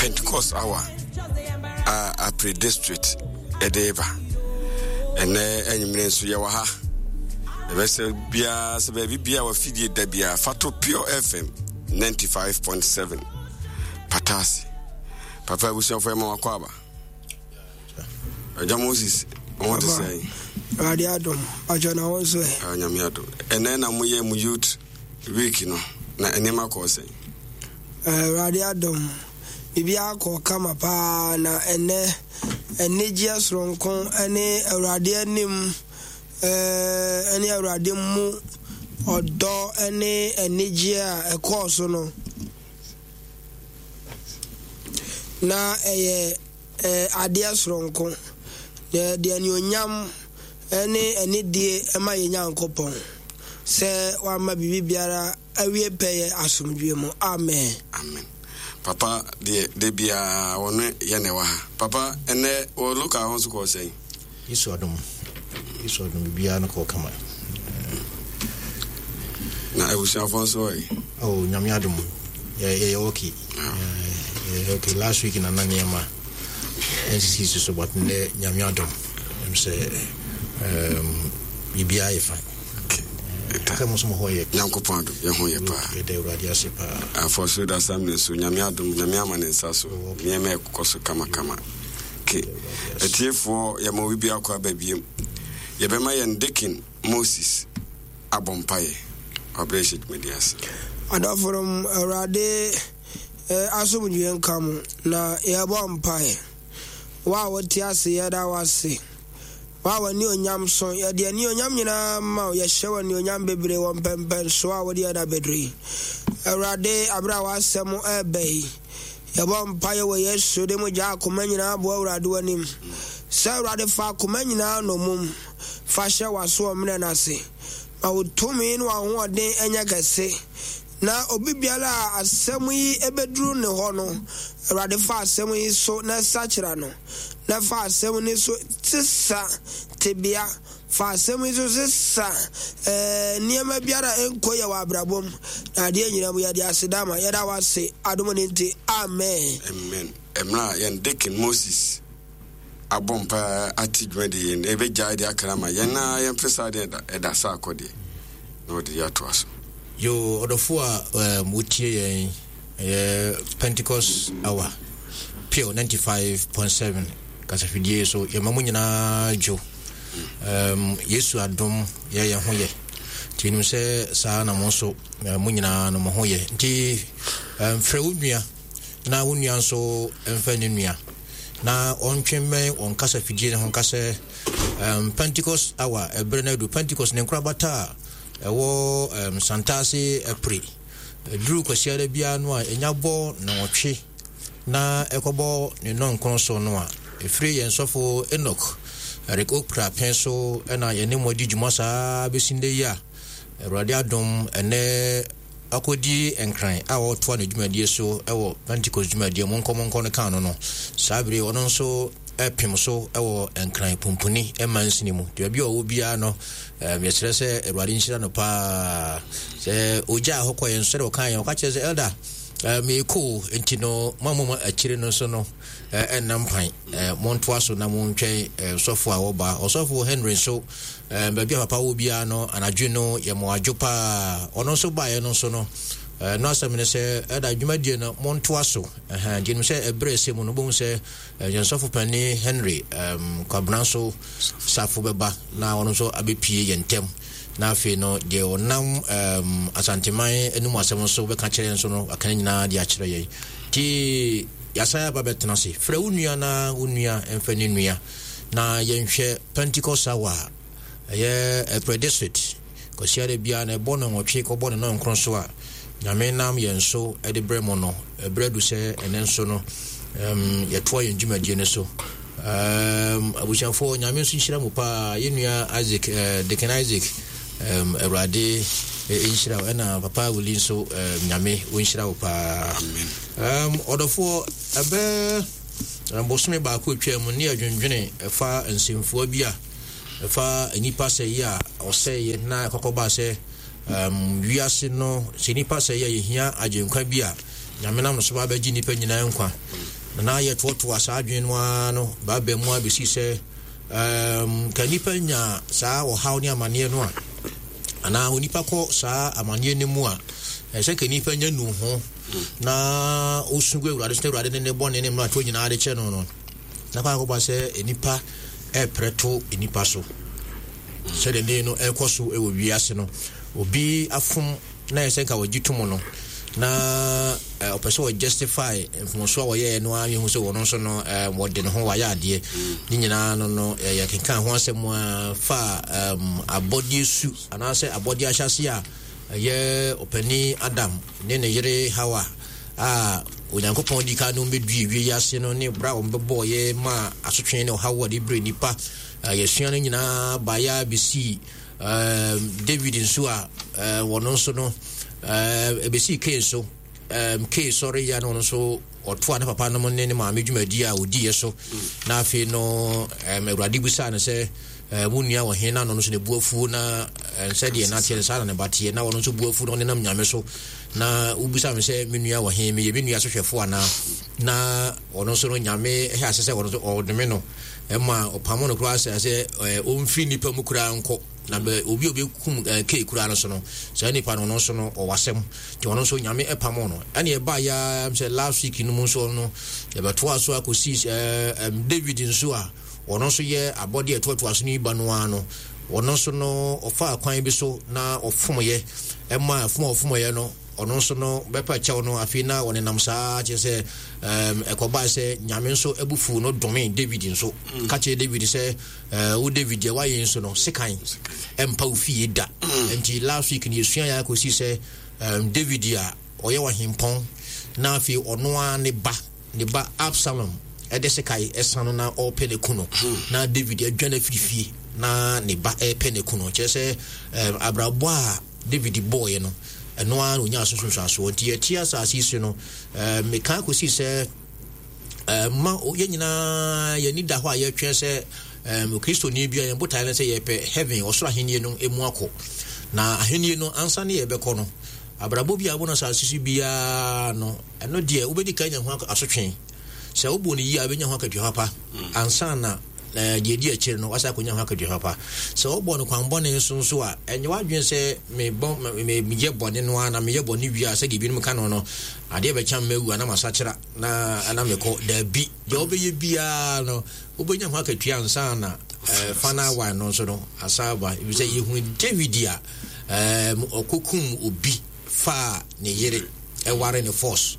Pentecost hour a Apre district ɛde ba. Ɛnɛ anwummerɛ nso yɛwɔ ha. Yɛbɛsɛ biara sɛ baabi biara wafidie da biara fa to Pure FM 95.7 Patase. Papa abusuafoɔ ɛma wakɔ aba. Agya Moses, wo ho te sɛn? Awurade adom, atwa na wo nso ɛ. Nyame adom. Ɛnɛ na moyɛ mo youth week no, na nneɛma kɔɔ sɛn? Awurade adom, biribiara kɔɔ kama paa na ɛnɛ anigyeɛ soronko ne Awurade anim ne Awurade mu ɔdɔ ne anigyeɛ a ɛkɔɔ so no na ɛyɛ adeɛ soronko na ɛde anuonyam ne anidie ma yɛn Nyankopɔn sɛ wama biribi biara awie pɛyɛ asomdwoeɛ mu. Amen. Amen. Papa deɛ da biara ɔno yɛ na ɛwɔ ha. Papa ɛnɛ wɔ local hɔ nso kɔɔ sɛn? Yesu adom, Yesu adom biribiara no kɔɔ kama. Na abusuafoɔ nso ɔyɛ? Oh, nyame adom yɛyɛ okay. Yɛyɛ okay. Last week na na nneɛma nsisi so so but nnɛ nyame adom sɛ biribiara yɛ fine. Sɛ mo nso mo ho yɛ. Nyankopɔn adom yɛ ho yɛ paa. Yɛda Awurade ase paa. Afɔ so da sam ne so nyame adom nyame ama ne nsa so nneɛma ɛkokɔ so kamakama. Ke atiefoɔ yɛma obi biako aba biem. Yɛbɛma yɛn Deacon Moses abɔ mpaeɛ wabrɛ hyɛ dwumadi ase. Adɔfonom Awurade asomdwoeɛ nka mo na yɛbɔ mpaeɛ. Wo a wote ase yɛda wo ase. Wo a w'anuonyam so, yɛde anuonyam nyinaa ma wo, yɛhyɛ wo anuonyam bebree wɔ mpɛmpɛnsoɔ a wode yɛn abɛduru yi. Awurade, aberɛ a w'asɛm ɛreba yi, yɛbɔ mpaeɛ wɔ Yesu de mu gya akoma nyinaa boa Awurade w'anim. Sɛ Awurade fa akoma nyinaa nnommum, fa hyɛ w'asoɔmmerɛ no ase. Ma wo tumi ne w'ahoɔden nyɛ kɛse. Na obi biara a asɛm yi bɛduru ne hɔ no, Awurade fa asɛm yi so na sakyera no, na fa asɛm no so sesa tebea, fa asɛm yi so sesa eh, nneɛma biara a ɛnkɔ yɛ wɔ abrabɔ mu, na adeɛ nyinaa mu yɛde aseda ma, yɛda wo ase, adom no nti, amen. Amen. Mmerɛ a yɛn Deacon Moses abɔ mpaeɛ ate dwumadi yi no, ɛbɛgyae deɛ aka no ama yɛn na yɛmfe saa deɛ ɛda ɛda saa akɔ deɛ na wɔde yɛ atoa so. Yo, ɔdɔfo a um, wotie yɛn ɛyɛ Pentecost hour pure 95.7 kasafidie so yɛma mo nyinaa dwo um, Yesu adom yɛ yɛn ho yɛ nti nim sɛ saa na mo nso mo nyinaa no mo ho yɛ nti um, frɛ wo nua na wo nua nso mfa ne nua na ɔntwe mmɛn wɔn kasafidie no ho nka sɛ um, Pentecost hour ɛberɛ no adu Pentecost ne nkorabata a ɛwɔ um, Santase apire ɛduru kwasiada biara no a ɛnya bɔ nnɔnwɔtwe na ɛkɔbɔ ne nnɔnkron so no a ɛfiri yɛn sɔfo Enoch Eric Okra pɛn so ɛna yɛne mo adi dwuma saa bɛsi nnɛ yi a Awurade adom ɛnɛ akɔdi Nkran a ɔretoa ne dwumadie so wɔ Pentecost dwumadie Monkɔ Monkɔ no kan no no, saa bere ɔno nso pem so wɔ Nkran Pumpuni mansini mu. Nti baabi a ɔwɔ biara no, yɛsrɛ sɛ Awurade nhyira no paa. Sɛ ɔgyaa hɔ kɔ yɛn nso sɛdeɛ ɔka yɛn, ɔka kyerɛ sɛ elder meekɔ nti no mo a mo akyire no nso no ɛnna mpan montoa so na montwɛn sɔfo a wɔba. Ɔsɔfo Henry nso Baabi a papa wɔ biara no, anadwo no yɛ mo adwo paa. Ɔno nso baeɛ no nso no, no asɛm ne sɛ, ɛda dwumadie no montoa so. Nti nim sɛ ɛberɛ ɛsɛ mu no, wobɛhu sɛ yɛn sɔfo panin Henry Kwabena nso safo bɛba na ɔno nso abɛpie yɛn ntam. Na afei no, deɛ ɔnam Asanteman anim asɛm nso bɛka kyerɛ yɛn nso no, aka ne nyinaa de akyerɛ yɛn. Nti yɛasan aba bɛtena ase. Frɛ wo nua na wo nua mfa ne nua. Na yɛnhwɛ Pentecost hour a ɛyɛ April district Kwasiada biara na ɛbɔ no nwɔtwe kɔbɔ no nɔnkron so a Nyame nam yɛn so de brɛ mo no ɛberɛ adu sɛ ɛnɛ nso no um, yɛtoa yɛn dwumadie no so um, abusuafoɔ Nyame nso nhyira mu paa yɛn nua Isaac uh, Deacon Isaac um, Awurade eh, nhyira wo ɛna papa Wuli nso um, Nyame ɔnhyira wo paa um, ɔdɔfoɔ ɛbɛ Bosome baako a etwaam no, ne yɛdwendwene ɛfa nsɛmfua bi a ɛfa nnipa sɛeɛ a ɔsɛeɛ na ɛkɔkɔbaa sɛ um, wiase no sɛ nnipa sɛeɛ a yɛhia agyenkwa bi a Nyame nam no so ba abɛgye nnipa nyinaa nkwa. Na na yɛtoatoa saa adwene no ara no baaba mu abɛsi sɛ um, ka nnipa nya saa ɔhaw ne amanneɛ no a, anaa onipa kɔ saa amanneɛ no mu a, ɛsɛ ka nnipa nya nu ho na osu gu Awurade so na Awurade ne ne bɔne ne mmaratoɔ nyinaa de kyɛ no no, na kɔ akɔba sɛ nnipa ɛreprɛ to nnipa so. Sɛdeɛ ne no ɛrekɔ so wɔ wiase no, obi afom na ɛsɛ nka wɔgye tom no na ɔpɛ sɛ ɔjustify mfomso a wɔyɛɛ no ara yɛhu sɛ wɔn nso no wɔde ne ho wɔayɛ adeɛ ne nyinaa no no yɛkenkan ho asɛm a fa abɔdeɛ su anaasɛ abɔdeɛ ahyɛase a ɛyɛ ɔpanin Adam ne ne yere Hawa a Onyankopɔn di kan no bɛdue wie yi ase no ne berɛ a wɔbɛbɔɔyɛ ma asotwe ne ɔhaw a de brɛ nnipa yɛsua no nyinaa baeɛ a bɛsii David nso a wɔn nso no ɛbɛsii Kain so. Kain sɔre yɛ no nso ɔtoa ne papa nom ne ne maame dwumadi a ɔdiiɛ so. Na afei no Awurade bisaa no sɛ wo nua wɔ he? Na no nso ne bu afuo na sɛdeɛ na teɛ no saa na ne ba teɛ. Na ɔno nso bu afuo na ɔnenam Nyame so. Na wobisa me sɛ me nua wɔ he? Meyɛ me nua sohwɛfoɔ anaa? Na ɔno nso no Nyame hyɛ ase sɛ ɔno nso ɔdome no. Ɛma ɔpamo no koraa sɛ sɛ ɔmfiri nnipa mu koraa nkɔ na bɛ obi a ɔbɛkum kei koraa no so no saa nipa no ɔno nso no ɔwɔ asɛm nti ɔno nso Nyame ɛpamo no. Ɛne ɛbaa ya sɛ last week no mu nso no yɛbɛtoa so akɔsi David nso a ɔno nso yɛ abɔdeɛ ɛtoatoa so no yi ba no ara no ɔno nso no ɔfaa kwan bi so na ɔfomyɛ ɛma fom a ɔfomyɛ no ɔno nso no bɛpa kyɛw no. Afei na ɔnenam saa kyerɛ sɛ ɛkɔbae sɛ Nyame nso abufuw no domee David nso mm. Ka kyerɛ David sɛ wo David deɛ woayɛ nso no sekan ɛmpa wo fie da mm. Nti last week no yɛsua yɛ akɔsi sɛ David a ɔyɛ ɔhempɔn na afei ɔno ara ne ba ne ba Absalom ɛde sekan ɛsa no na ɔrepɛ ne ku no hmm. Na David adwane afiri fie na ne ba ɛrepɛ ne ku no kyerɛ sɛ abrabɔ a David bɔeɛ no, ɛno ara na ɔnyaa so nsunsuansoɔ. Nti yɛte asase yi so no, meka kɔsii sɛ ma yɛn nyinaa yɛn ani da hɔ a yɛtwɛn sɛ Kristoni bi a yɛn botaeɛ no sɛ yɛpɛ heaven, ɔsoro ahennie no mu akɔ. Na ahennie no ansa ne yɛbɛkɔ no, abrabɔ bi a wobɔ no asase so biara no, ɛno deɛ wobɛdi kan nya ho asotwe. Sɛ wobɔ no yie a wobɛnya ho akatua papa ansa na na deɛ ɛdi akyire no wasan akɔnya ho akatua papa. Sɛ wobɔ no kwanbɔne nso nso a, ɛnyɛ w'adwene sɛ mebɔ meyɛ bɔne no ara na meyɛ bɔne wie a sɛdeɛ ebinom ka no no, adeɛ bɛkya me mawu anaa masakyera na na mekɔ. Daabi, deɛ wobɛyɛ biara no wobɛnya ho akatua ansa na eh, final one no nso no asan aba. Ɛfiri sɛ yɛhunu David a eh, ɔkɔkum obi faa ne yere ɛware ne force.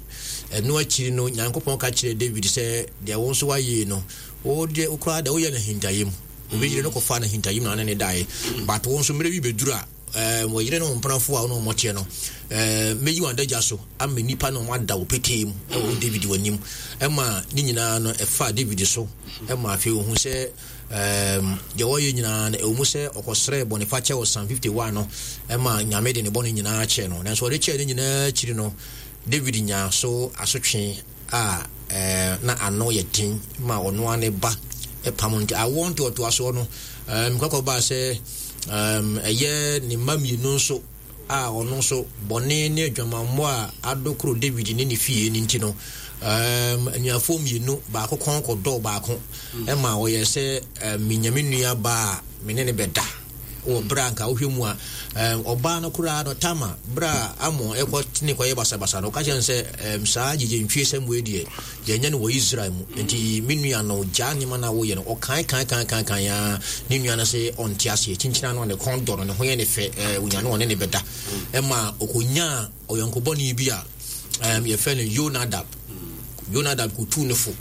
Ɛno akyiri no Nyankopɔn ka kyerɛɛ David sɛ deɛ wo nso woayɛ no Wo deɛ wo koraa deɛ woyɛ no ahintayɛ mu. Obi yere no kɔfaa no ahintayɛ mu na ɔne ne daeɛ. But wo nso mmerɛ bi bɛduru a, ɛɛ wɔ yere ne wo mpenafoɔ a wo ne wɔn teɛ no, ɛɛ mɛyi wɔn adagya so ama nnipa ne wɔn ada wo petee mu ɛwɔ wo David w'anim. Ɛma ne nyinaa no ɛfaa David so ɛma afei ohun sɛ ɛɛm deɛ ɔyɛ nyinaa no ɛwɔ mu sɛ ɔkɔsrɛɛ bɔnefakyɛ wɔ Psalm 51 no ɛma Nyame de ne bɔne nyinaa kyɛɛ no. Nanso ɔde kyɛɛ ne nyinaa akyiri no David nyaa so asotwe a na ano yɛ den ma ɔno ara ne ba pam no. Nti awoɔ ntoatoasoɔ no, kɔkɔ baa sɛ ɛyɛ ne mma mmienu nso a ɔno nso bɔne ne adwamammɔ a adokoro David ne ne fie no nti no, anuafoɔ mmienu baako kɔn kɔdɔɔ baako ma ɔyɛ sɛ menya me nua baa a me ne ne bɛda. Wɔ berɛ a anka wohwɛ mu a, ɔbaa no koraa no, Tamar, berɛ a Amnon rekɔ ne kɔyɛ basabasa no, ɔka kyerɛ no sɛ, saa gyegyentwie sɛm wei deɛ, yɛnyɛ no wɔ Israel mu. Nti me nua no, gyaa nneɛma no a woyɛ no. Ɔkae kae kae kae kae ara, ne nua no se ɔnte aseɛ. Kyinkyina no a ne kɔn dɔ no, ne ho yɛ ne fɛ, ɔnya no ɔne ne bɛda. Ɛma ɔkɔnyaa ɔyɔnko bɔne bi a yɛfrɛ no Yonadab. Yonadab kɔtuu ne fo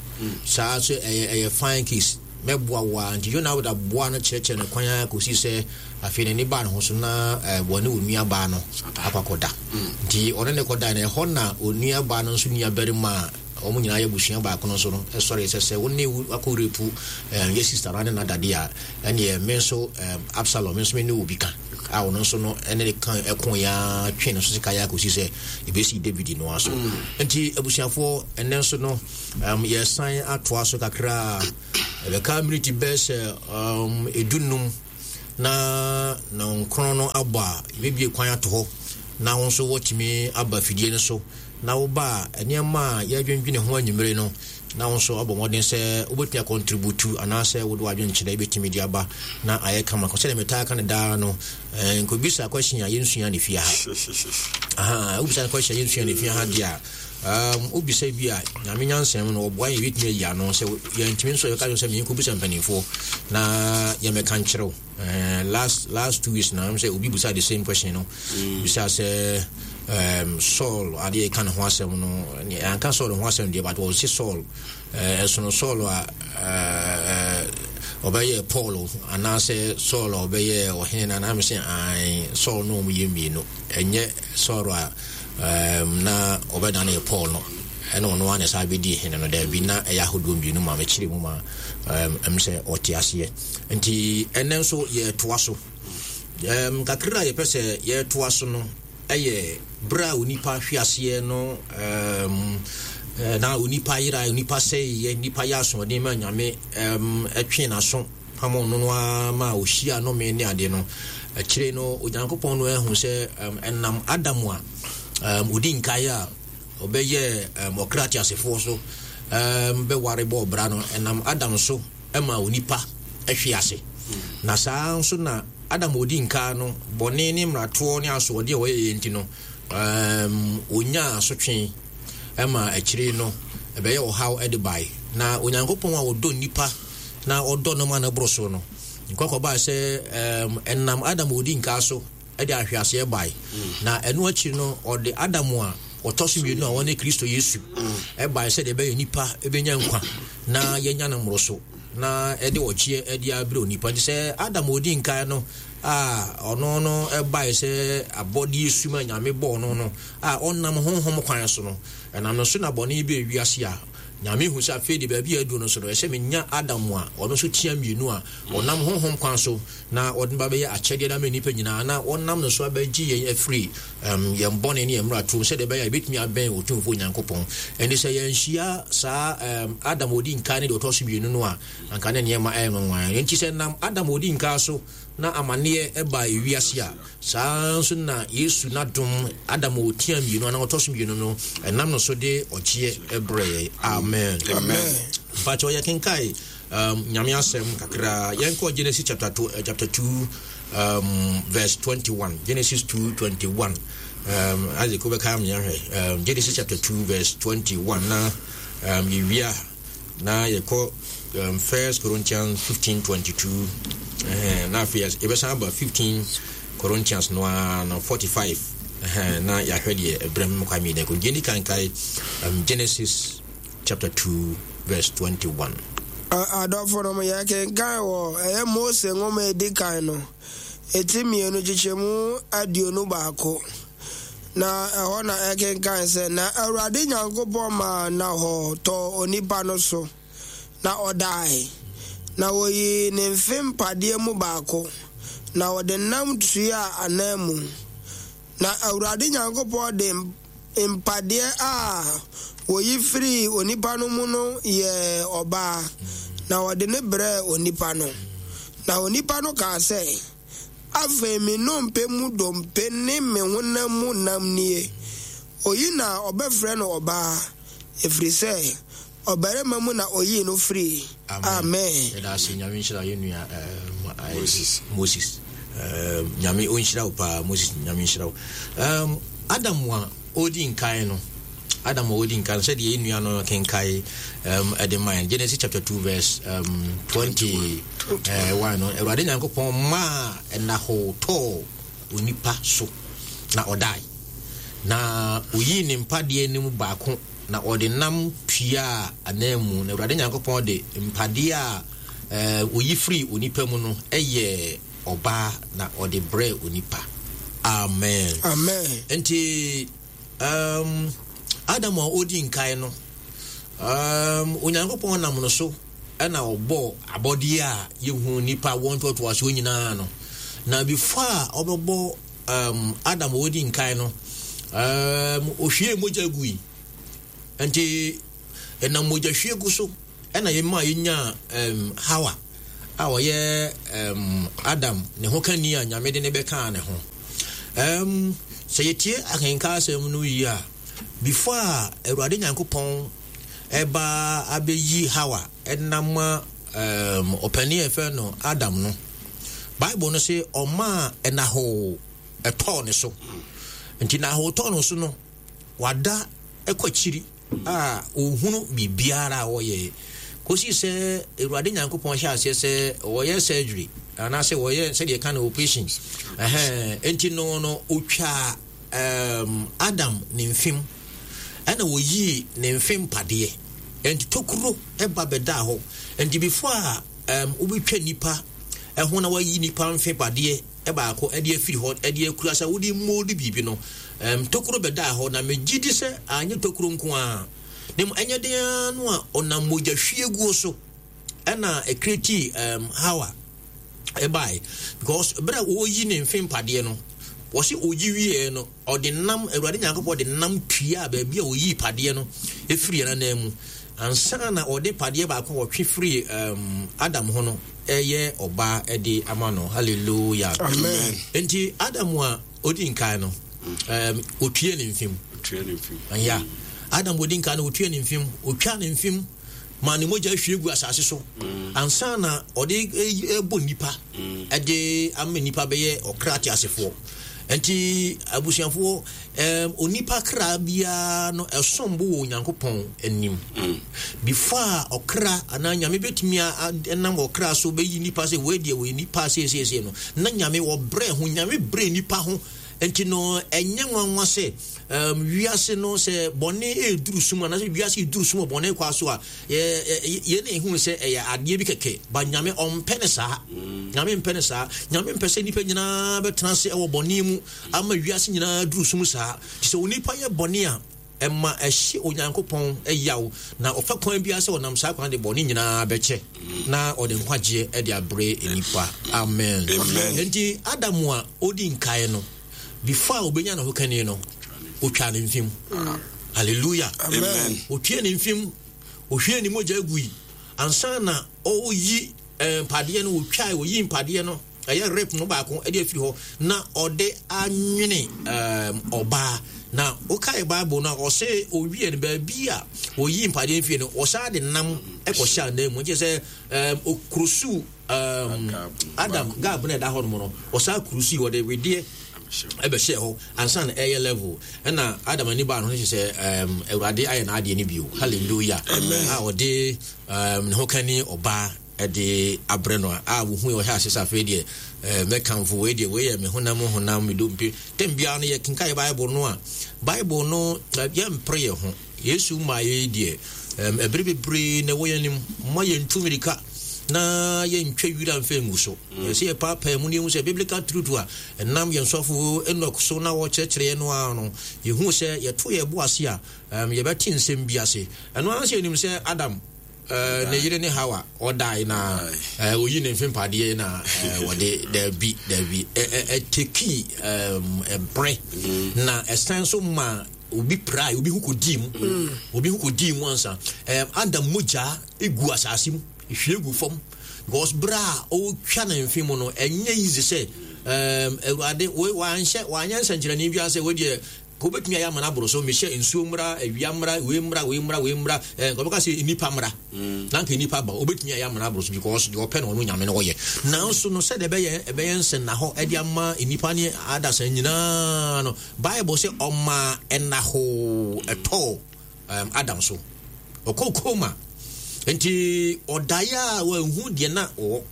saa sɛ ɛyɛ fine case. Mɛboa wo ara. Enti Yonadab boaa no kyerɛkyerɛɛ no kwan ara kosii sɛ afei n'ani baa ne ho so na wɔne onuabaa no akɔ akɔda. Enti ɔne no kɔdae, na ɛhɔ na onuabaa no nso nuabarima a wɔn nyinaa yɛ abusua baako no nso no sɔree sɛ, Sɛ wo ne wo akɔ repu yɛ sista no ne no ada de a, ɛnneɛ me nso Absalom, me nso me ne wo bi ka. A ɔno nso no ne no ka koeɛ ara twee ne so sekan ara kosii sɛ ebesii Dawid no ara so. Enti abusuafoɔ, ɛnnɛ nso no, Um, yɛsan atoa so kakra a, ɛbɛka miniti bɛyɛ sɛ um, edunum na nɔnkron no abɔ a, yɛbɛbie kwan ato hɔ na wo nso wɔtumi aba fidie no so na woba a nneɛma a yɛadwendwene ho anwummere no na wo nso abɔ mmɔden sɛ wobɛtumi akɔntributu anaasɛ wode w'adwenkyerɛ bɛtumi de aba na ayɛ kama. Sɛdeɛ metaa ka no daa no, eh, nkɔbisa question a yɛnsua ne fie ha. Aha, wobisa question a yɛnsua ne fie ha deɛ a, um, wobisa bi a Nyame nyansam no ɔboa yɛn yɛbɛtumi ayi ano. Sɛ yɛntumi nso yɛka sɛ menkɔbisa mpanimfoɔ na yɛmmɛka nkyerɛ wo. Eh, last 2 weeks na sɛ obi bisa the same question no, bisa sɛ Saul adeɛ ka ne ho asɛm no, anka Saul ho asɛm deɛ, but ɔse Saul ɛsono Saul a ɔbɛyɛ Paul anaasɛ Saul a ɔbɛyɛ ɔhene no anaa mesɛ ae Saul no ɔmo yɛ mmienu, ɛnyɛ Saul a na ɔbɛdane Paul no ɛna ɔno ara na ɛsan bɛdi hene no. Daabi, na ɛyɛ ahodoɔ mmienu ma mekyerɛ mu ma ɛm sɛ ɔte aseɛ. Nti ɛnɛ nso yɛtoa so kakra a yɛpɛ sɛ yɛtoa so no ɛyɛ berɛ a onipa hwe aseɛ no, na onipa yera, onipa sɛeɛ, nipa yɛ asoɔden ma Nyame ɛtwe n'aso pamo no no ara ma ɔhyia nome ne adeɛ no. Akyire no Onyankopɔn no ahu sɛ ɛnam Adam a ɔdi nkaeɛ a ɔbɛyɛ ɔkra teasefoɔ so bɛware bɔɔ bra no, ɛnam Adam so ma onipa hwe ase. Na saa nso na Adam a ɔdi nka no bɔne ne mmaratoɔ ne asoɔden a ɔyɛeɛ nti no, ɔnyaa asotwe ma akyire no ɛbɛyɛ ɔhaw de bae. Na Onyankopɔn a ɔdɔ nnipa na ɔdɔ no ma no boro so no, nkɔkɔbaa sɛ ɛnam Adam a ɔdi nka so de ahweaseɛ bae. Na ɛno akyiri no, ɔde Adam a ɔtɔ so mmienu a ɔne Kristo Yesu bae sɛdeɛ ɛbɛyɛ nnipa bɛnya nkwa na yɛnya no mmoroso na ɛde ɔgyeɛ de abrɛ onipa. Nti sɛ Adam a ɔdi nkan no a ɔno no bae sɛ abɔdeɛ sum a Nyame bɔɔ no no a ɔnam honhom kwan so no, ɛnam no so na bɔne bɛɛ wiase a, Nyame hu sɛ afei de baabi a aduru no so no, ɛsɛ menya Adam a ɔno nso tia mmienu a ɔnam honhom kwan so na ɔde no ba bɛyɛ akyɛdeɛ de ama nnipa nyinaa, na ɔnam no so abɛgye yɛn afiri um, yɛn bɔne ne yɛn mmaratoɔ mu, sɛdeɛ ɛbɛyɛ a yɛbɛtumi abɛn Otumfoɔ Nyankopɔn. Ɛnde sɛ yɛanhyia saa um, Adam a ɔdi nkan ne deɛ ɔtɔ so mmienu no a, anka ne nneɛma ɛyɛ nwanwa. Enti sɛ nam Adam a ɔdi nkan so na amanneɛ ɛbaa ewiase a, saa nso na Yesu n'adom, Adam a ɔtia mmienu anaa ɔtɔ so mmienu no, ɛnam no so de ɔgyeɛ brɛ yɛn. Amen. Amen. Mpakyɛ ɔyɛ kenkae Nyame asɛm kakra. Yɛnkɔ Genesis chapter 2, chapter 2 verse 21. Genesis 2 21. Isaac wobɛka me ahwɛ. Genesis chapter 2 verse 21 na yɛwie a na yɛkɔ First Corinthians 15 22. Na afei yɛbɛsan aba 15 Corinthians no ara no 45. Na yɛahwɛ deɛ ɛberɛ mu kwa mmienu. Yɛni kankae Genesis chapter 2 verse 21. Adɔfonom, yɛkenkan wɔ ɛyɛ Mose nwoma a edi kan no, eti mmienu kyekyɛmu 21, na ɛhɔ na ɛkenkan sɛ, Na Awurade Nyankopɔn maa nnahɔɔ tɔɔ onipa no so, na ɔdae, na wɔyii ne mfe mpadeɛ mu baako, na wɔde nam tuaa ananmu. Na Awurade Nyankopɔn de mpadeɛ a wɔyi firii onipa no mu no yɛɛ ɔbaa, na ɔde no brɛɛ onipa no. Na onipa no kaa sɛ, Afei me nnompe mu dompe ne me honam mu nam nie, oyi na wɔbɛfrɛ no ɔbaa, ɛfiri sɛ ɔbarima mu na ɔyii no firii. Amen. Yɛda ase. Nyame nhyira yɛn nua Moses. Moses. Nyame ɔnhyira wo paa Moses. Nyame nhyira wo. Adam a ɔdi nkan no, Adam a ɔdi nkan no, sɛdeɛ yɛn nua no kenkae ɛde ma yɛn Genesis chapter 2 verse 21 no, Awurade Nyankopɔn maa ɛnahoo tɔɔ onipa so na ɔdae, na oyii ne mpadeɛ no mu baako na ɔde nam tuaa ananmu, na Awurade Nyankopɔn de mpadeɛ a oyi firii onipa mu no yɛɛ ɔbaa na ɔde brɛɛ onipa. Amen. Amen. Nti Adam a ɔdi nkae no, Onyankopɔn nam no so ɛna ɔbɔɔ abɔdeɛ a yɛhu nipa wɔn ntoatoasoɔ nyinaa no. Na before a ɔbɛbɔ Adam a ɔdi nkae no, ɔhwiee mogya gui. Nti ɛnam mogya hwie gu so ɛna yɛma yɛnyaa Hawa a ɔyɛ Adam ne ho kani a Nyame de ne bɛkaa ne ho. Sɛ yɛtie akenka asɛm no yie a, before a Awurade Nyankopɔn ɛba abɛyi Hawa ɛnam um, ɔpanin a ɛfɛ no Adam no, Bible no se ɔmaa ɛnahoo ɛtɔɔ ne so. Nti nahoo tɔɔ no so no, wada ɛkɔ akyiri a ɔhunu biribiara a ɔyɛ kɔsi sɛ Awurade Nyankopɔn hyɛ aseɛ sɛ ɔyɛ surgery anaasɛ wɔyɛ sɛdeɛ ɛka no operation. Ɛhɛn, nti no no ɔtwaa um, Adam ne mfem ɛna wɔyii ne mfe mpadeɛ nti tokuro ɛba bɛdaa hɔ. Nti before a um, wobɛtwa nipa ɛho na wayi nipa mfe padeɛ baako ɛde afiri hɔ ɛde akura sɛ wode mold biribi no, um, tokuro bɛdaa hɔ. Na megye di sɛ anyɛ tokuro nko a, na mmom ɛnyɛ den ara no a ɔnam mogya hwieguo so ɛna ɛkreti um, Hawa ɛbae, because berɛ a wɔyi ne mfe mpadeɛ no, wɔsi oyi wieɛ no, ɔde nam Awurade Nyankopɔn de nam tuaa baabi a ɔyii padeɛ no ɛfiri yɛn anan mu ansa na ɔde padeɛ baako a ɔtwe firi um, Adam ho no ɛyɛ ɔbaa ɛde ama no. Hallelujah. Amen. Nti Adam a ɔdi nkan no, um, ɔtue ne mfem. Ya Adam ɔdi nkan no, ɔtue ne mfem, ɔtwa ne mfem ma ne mogya hwie gu asase so mm. ansa na ɔde ɛbɔ nnipa mm. ɛde ama nnipa bɛyɛ ɔkra teasefoɔ. Nti abusuafoɔ, um, onipa kra biara no ɛsom bo wɔ Onyankopɔn anim mm. Before a ɔkra anaa Nyame bɛtumi nam ɔkra so bɛyi nipa sɛ wei deɛ wɔyɛ nipa seesiesie no, na Nyame wɔbrɛ ho, Nyame brɛ nipa ho. Nti no ɛnyɛ nwanwa sɛ um, wiase no sɛ bɔne ɛreduru sum anaasɛ wiase ɛduru sum wɔ bɔne kwa so a, yɛn na ɛhu sɛ ɛyɛ adeɛ bi kɛkɛ ba. Nyame ɔmpɛ ne saa. Nyame mpɛ ne saa. Nyame mpɛ sɛ nnipa nyinaa bɛtena ase ɛwɔ bɔne mu ama wiase nyinaa duru sum saa. Nti sɛ onipa yɛ bɔne a, ɛma ɛhye Onyankopɔn yaw, na ɔfa kwan biara sɛ ɔnam saa kwan de bɔne nyinaa bɛkyɛ na ɔde nkwagyeɛ de abrɛ nnipa. Amen. Nti Adam a ɔdi nkae no, before a obenya ne ho kani no, otwa ne mfem. Hallelujah. Amen. Otwa ne mfem, ohwie ne mogya gui ansa na ɔyi eh, mpadeɛ no, otwa oyi mpadeɛ no, ɛyɛ rape no baako de afiri hɔ na ɔde anwene ɔbaa. Na wokae Bible no a, ɔsɛ owie no baabi a oyi mpadeɛ mfie no, ɔsan de nam kɔhyɛ anan mu, nkyɛ sɛ okurusu Adam gab na ɛda hɔ nom no, ɔsan kurusu ɔde wedeɛ ɛbɛhyɛ hɔ ansa na ɛyɛ level. Ɛna Adam ani baa no ho sɛ Awurade ayɛ n'adeɛ no bio. Hallelujah. A ɔde ne ho kani ɔbaa ɛde abrɛ no a wohu yɛ ɔhyɛ ase sɛ afei deɛ mɛkamfo wei deɛ, wei yɛ me honam honam, me dompe. Tɛm biara no yɛkenka yɛ Bible no a, Bible no yɛmpere yɛ ho. Yesu maa yɛ deɛ ɛbere bebree na ɛwɔ yɛn anim ma yɛntu mmirika na yɛntwa wira mfa ngu so. Ɛsɛ yɛpaapaa mu na yɛhu sɛ biblical truth a ɛnam yɛn sɔfo Enoch so na wɔkyerɛkyerɛ yɛn no ara no, yɛhu sɛ yɛto yɛn bo ase a, yɛbɛte nsɛm bi ase. Ɛno ara sɛ yɛnim sɛ Adam ne yere ne Hawa ɔdae na oyi ne mfe mpadeɛ na wɔde daabi daabi ɛteki ɛbrɛ na ɛsan so ma obi prae, obi ho kɔdii mu, obi ho kɔdii mu ansa. Adam mogya egu asase mu, ehwie gu fam, because berɛ a ɔretwa ne mfe mu no, ɛnyɛ easy sɛ Awurade wanhyɛ wanyɛ nsɛnkyerɛnne biara sɛ wɔdeɛ ka wobɛtumi ayɛ ama no aboro so, mehyɛ nsuo mmra, awia mmra, wei mmra, wei mmra, wei mmra, nka wobɛka sɛ nnipa mmra, na nka nnipa ba, wobɛtumi ayɛ ama no aboro so, because deɛ ɔpɛ no ɔno Nyame no ɔyɛ. Nanso no sɛdeɛ ɛbɛyɛ ɛbɛyɛ nsɛnnahɔ ɛde ama nnipa ne adasa nyinaa no, Bible sɛ ɔmaa ɛnahoo ɛtɔɔ um, Adam so. Ɔkɔɔ koma. Nti ɔdaeɛ a wanhu deɛ na ɔwɔ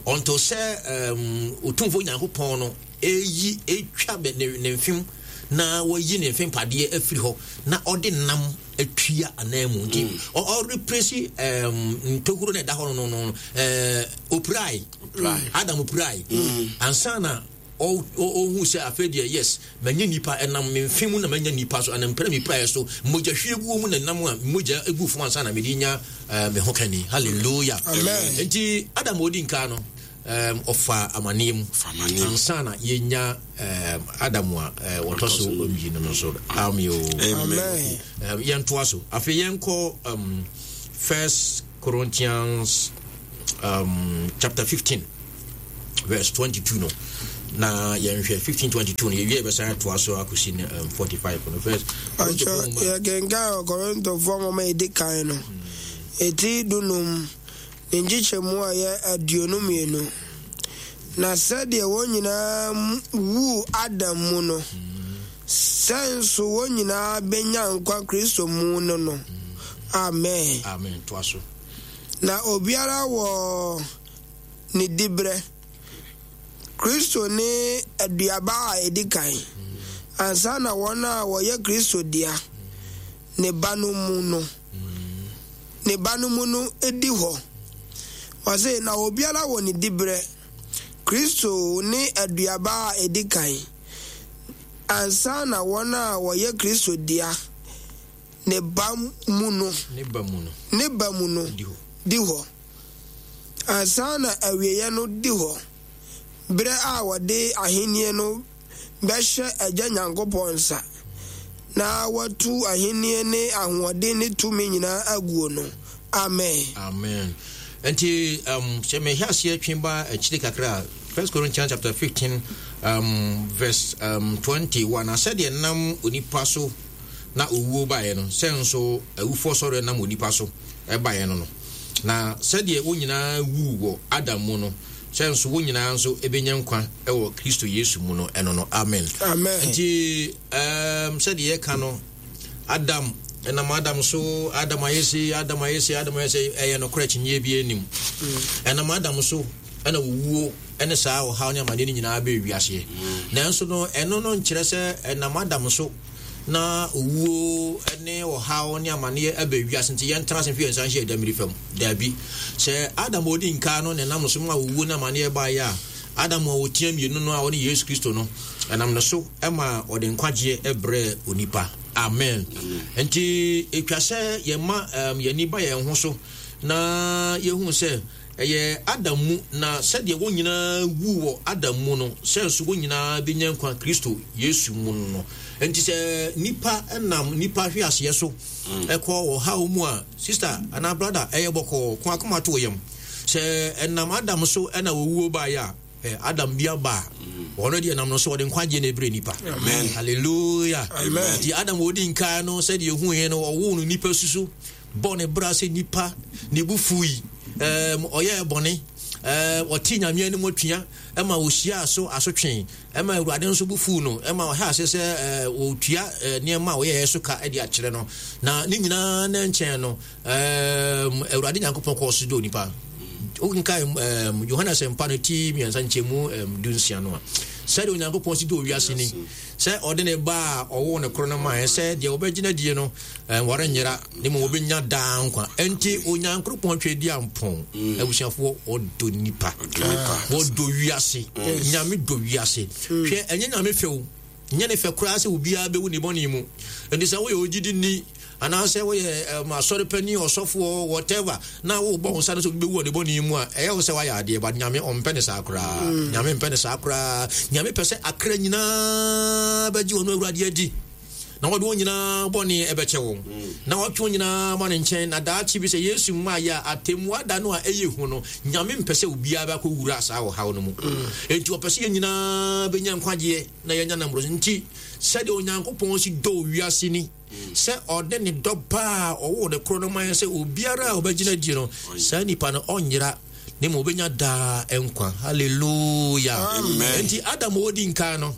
until sɛ um, Otumfoɔ Nyankopɔn no ɛyi ɛtwa ne, ne mfem na wayi ne mfe mpadeɛ afiri hɔ na ɔde nam atua anan mu. Nti ɔrepresi um, ntokuro na ɛda hɔ no no no uh, opirae. Adam opirae ansa na ɔhu sɛ afei deɛ, yes, manya nipa, ɛnam me mfe mu na manya nipa so, ɛnam mpere me piraeɛ so, mogya hwie guo mu na nam a mogya egu fam ansa na mede nya me ho kani. Hallelujah. Amen. Nti Adam odi nka no, ɔfa amaneɛ mu ansa na yɛnya Adam a wɔtɔ so mmienu no so. Amen. Amen. Yɛntoa so afei yɛnkɔ First Corinthians chapter 15 verse 22 no. na yɛnhwɛ 1522 no yɛwie yɛbɛsan atoa so akɔsi no um, 45 no first. Ɔkyɛ yɛkenkan wɔ Korintofoɔ nwoma a ɛdi kan no ɛti dunum ne nkyekyɛmu a ɛyɛ 22. Na sɛdeɛ wɔn nyinaa wuu Adam mu no, sɛ nso wɔn nyinaa bɛnya nkwa Kristo mu no no. Amen. Amen. Toa so. Na obiara wɔ ne diberɛ. Kristo ne aduaba a ɛdi kan, ansa na wɔn a wɔyɛ Kristo dea, ne ba no mu no, ne ba no mu no di hɔ. Ɔse, na obiara wɔ ne diberɛ. Kristo ne aduaba a ɛdi kan, ansa na wɔn a wɔyɛ Kristo dea, ne ba mu no, ne ba mu no, ne ba mu no di hɔ. Ansa na awieeɛ no di hɔ, berɛ a wɔde ahennie no bɛhyɛ Agya Nyankopɔn nsa, na watu ahennie ne ahoɔden ne tumi nyinaa aguo no. Amen. Amen. Nti um, sɛ mehwɛ aseɛ twe ba akyiri kakra a, First Corinthians chapter 15 um, verse um, 21 na sɛdeɛ nam onipa so na owuo baeɛ no, sɛ nso awufoɔ sɔreɛ nam onipa so baeɛ no no. Na sɛdeɛ wɔn nyinaa wuu wɔ Adam mu no, sɛ nso wɔn nyinaa nso bɛnya nkwa wɔ Kristo Yesu mu no, ɛno no. Amen. Amen. Nti, um, sɛdeɛ yɛka no, Adam, ɛnam Adam so, Adam ayɛ sei, Adam ayɛ sei, Adam ayɛ sei, ɛyɛ nokorɛ kyinyeɛ bi anim. Ɛnam Adam so, ɛna owuo ɛne saa ɔhaw ne amaneɛ no nyinaa bɛɛ wiaseɛ. Nanso no, ɛno no nkyerɛ sɛ ɛnam Adam so na owuo ne ɔhaw ne amaneɛ aba wiase nti yɛntena ase mfa yɛn nsa nhyɛ yɛn dammiri fam. Daabi. Sɛ Adam a ɔdi nkan no na ɛnam no so ma owuo ne amaneɛ baeɛ a, Adam a ɔtia mmienu no a ɔne Yesu Kristo no, ɛnam ne so ma ɔde nkwagyeɛ brɛɛ onipa. Amen. Nti ɛtwa sɛ yɛma um, yɛn ani ba yɛn ho so na yɛhu sɛ Ɛyɛ Adam mu, na sɛdeɛ wɔn nyinaa wuu wɔ Adam mu no, sɛ nso wɔn nyinaa bɛnya nkwa Kristo Yesu mu no. Enti sɛ nipa nam nipa hweaseɛ so kɔ ɔhaw mu a, sista anaa brada, ɛyɛ bɔkɔɔ, ko akoma to wo yam. Sɛ ɛnam Adam so na owuo baeɛ a, Adam bi aba a, ɔno deɛ nam no so ɔde nkwagyeɛ na ɛbrɛ nipa. Hallelujah. Nti Adam ɔdi nkan no, sɛdeɛ ɛhuiɛ no, ɔwoo no nipa susu. bɔɔ ne bra sɛ nipa, ne bo fui, ɛɛm, ɔyɛɛ bɔne, ɛɛm, ɔtee Nyame anim atua, ɛma ɔhyiaa so asotwe, ɛma Awurade nso bo fuu no, ɛma ɔhyɛ ase sɛ ɛɛ, ɔtua ɛɛ, nneɛma a ɔyɛɛ so ka de akyerɛ no. Na ne nyinaa ne nkyɛn no, ɛɛm, Awurade Nyankopɔn kɔɔ so dɔ nipa. Wokenkan ɛɛm, Yohane Asɛmpa no ti mmiɛnsa nkyɛmu ɛɛm, dunsia no a, sɛdeɛ Onyankopɔn si dɔ wiase ni, sɛ ɔde ne ba a ɔwoo no koro no maeɛ sɛ deɛ ɔbɛgyina die no, Wɔrennyera, na mmom wɔbɛnya daa nkwa. Enti Onyankoropɔn Tweaduampɔn, mm. abusuafoɔ, ɔdɔ nipa. Wɔdɔ wiase. Mm. Nyame dɔ wiase. Mm. Hwɛ, ɛnyɛ Nyame fɛ o. Nyɛ ne fɛ koraa sɛ obiara bɛwu ne bɔne mu. Enti sɛ woyɛ ogyidi ni, anaasɛ woyɛ um, asɔre panin, ɔsɔfoɔ, whatever, na wobɔ wo nsa no sɛ obi bɛwu wɔ ne bɔne mu a, ɛyɛ wo sɛ woayɛ adeɛ, but Nyame ɔmpɛ ne saa koraa. Nyame mpɛ ne saa koraa. Nyame pɛ sɛ akra nyinaa bɛgye ɔno Awurade adi. na wɔde wɔn nyinaa bɔne bɛkyɛ wɔn, na wɔatwe wɔn nyinaa ama ne nkyɛn, na daakye bi sɛ Yesu mmaeɛ a, atɛmmuo da no a ɛyɛ hu no, Nyame mpɛ sɛ obiara bɛakɔ wura saa ɔhaw no mu. Enti ɔpɛ sɛ yɛn nyinaa bɛnya nkwagyeɛ na yɛanya no mmoroso. Nti sɛdeɛ Onyankopɔn si dɔ wiase ni, sɛ ɔde ne dɔ ba a ɔwoo ne korɔ no ma yɛn sɛ obiara a ɔbɛgyina die no, saa nipa no ɔnyera, na mmom ɔbɛnya daa nkwa. Hallelujah. Enti Adam a ɔdi nkan no,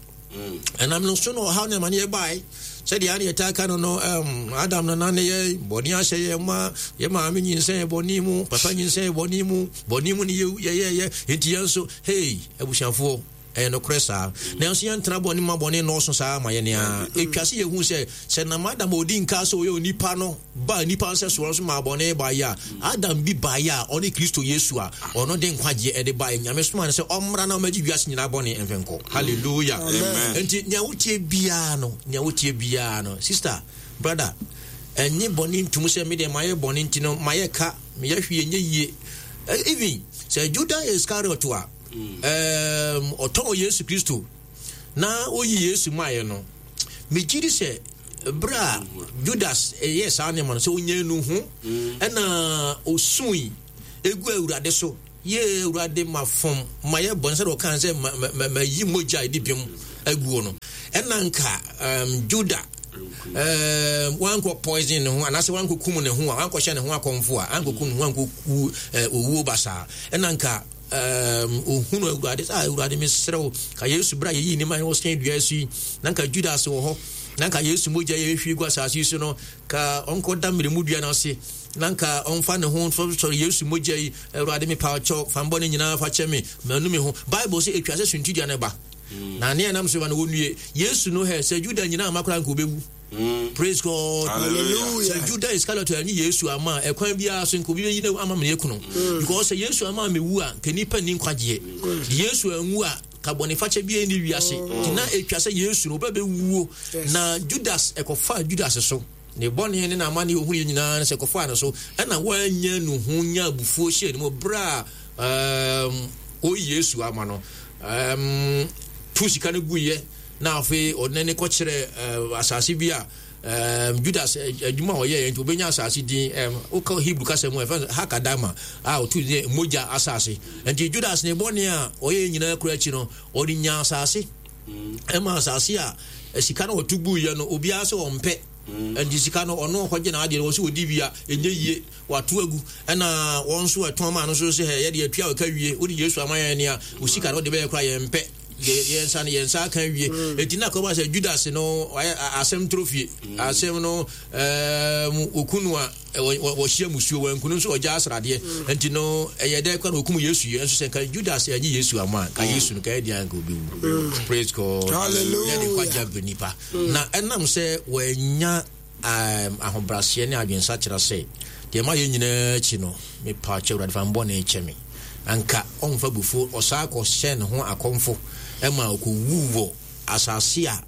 Ɛnam no so na ɔhaw ne amaneɛ bae. Sɛdeɛ ane yɛtaa ka no no, um, Adam no nane yɛ bɔne ahyɛ yɛn ma, yɛ maame nyinsɛn yɛ bɔne mu, papa nyinsɛn yɛ bɔne mu, bɔne mu ne yɛyɛyɛ, enti yɛn nso, hei, abusuafoɔ, ɛyɛ nokorɛ saa. Nanso yɛntena bɔne ma bɔne nnɔɔso saa ma yɛn a. Ɛtwa sɛ yɛhu sɛ, sɛ nam Adam a ɔdi nka sɛ ɔyɛ onipa no baa nnipa nsɛsoɔ so maa bɔne baeɛ a, Adam bi baeɛ a ɔne Kristo Yesu a ɔno de nkwagyeɛ ɛde baeɛ. Nyame somaa no sɛ ɔmmra na ɔmmɛgye wiase nyinaa bɔne mfe nkɔ. Hallelujah. Nti nea wotie biara no, nea wotie biara no, sister, brother, ɛnye bɔne ntum sɛ me deɛ mayɛ bɔne nti no mayɛ ka, meyɛ hwee nyɛ yie. Even sɛ Judas Iscariot a, ɔtɔn Yesu Kristo na oyi Yesu maeɛ no, megye di sɛ berɛ a Judas yɛɛ saa nneɛma no sɛ ɔnya nu ho ɛna ɔsui ɛgu Awurade so. Yee, Awurade, mafom, mayɛ bɔne, sɛdeɛ ɔkaa sɛ mayi mogya a ɛdi bem aguo no. Ɛna nka um, Juda um, wankɔ poison ne ho anaasɛ wankɔ kum ne ho a wankɔhyɛ ne ho akɔmfo a ankɔ kum ne ho ankɔ wu uh, owuo basaa. Ɛna nka um, ohunu Awurade sɛ ah, Awurade mesrɛ wo ka Yesu berɛ a yɛyii ne ma wɔsɛn dua so yi na nka Judas wɔ hɔ na nka Yesu mogya yɛhwie gu asase yi so no ka ɔnkɔda mmerɛmu dua no ase na nka ɔmfa ne ho nsɔre Yesu mogya yi, Awurade mepa kyɛw, fa mbɔne nyinaa fa kyɛ me, manu me ho. Bible sɛ etwa sɛ suntidua no ba. Mm. Na nea ɛnam so ba no wɔnnue. Yesu no hɛ, sɛ Juda nyinaa ama koraa nka obewu. Mm. Praise God. Hallelujah. Sɛ Juda Iscariot anyi Yesu ama a, ɛkwan biara so nka obi bɛyi no ama me ekunu. Mm. Because sɛ Yesu ama me wu a, nka nipa nni nkwagyeɛ. Mm. Yesu anwu a, ka bɔnefakyɛ biara nni wiase. Nti na etwa sɛ Yesu no ɔbɛbɛwuo. Na Judas ɛkɔfaa Judas so. Ne bɔne ne n'amane a ohunuiɛ nyinaa ne sɛ kɔfaa no so ɛna wannya nuhu nya abufuo hyɛɛ ne mu berɛ a um, ɔyi Yesu ama no um, tu sika no guiɛ na afei ɔde n'ani kɔkyerɛ uh, asase bi a um, Judas adwuma a ɔyɛɛ nti obɛnya asase din um, wokɔ Hebrew kasa mu ɛfɛ Hakadama a ɔtu ne mogya asase nti Judas ne bɔne a ɔyɛ nyinaa kura akyi no ɔde nya asase ɛma asase a sika no ɔto guiɛ no obiara sɛ ɔmpɛ mm. nti sika no ɔno ɔkɔgye n'adeɛ no wɔ sɛ ɔdi wia ɛnyɛ yie wato agu ɛna wɔn nso ɛtɔn maa no nso sɛ yɛde atua ɔka wie wode Yesu ama yɛn nea osika no wode bɛyɛ koraa yɛmpɛ yɛn nsa no yɛn nsa aka wie mm. eti na kɔba sɛ Judas no asɛm toro fie mm. asɛm no ɛɛm okunu a wɔhyia musuo wankunu nso ɔgya asradeɛ mm. nti no ɛyɛ dɛ kora na ɔkum yesu yɛ nso sɛ nka judas anyi yesu ama ka mm. Yesu no ka ɛdeɛ anka ɔbɛwu mm. Praise God. Hallelujah. Ne nkwagya brɛ nipa na ɛnam sɛ wɔanya um, ahobraseɛ ne adwensakyera sɛ deɛ ma yɛ nyinaa akyi no mepa kyɛ Awurade fa mbɔne kyɛ me anka ɔmfa bufuo ɔsaa kɔhyɛ ne ho akɔmfo ɛma ɔkɔwu wɔ asase a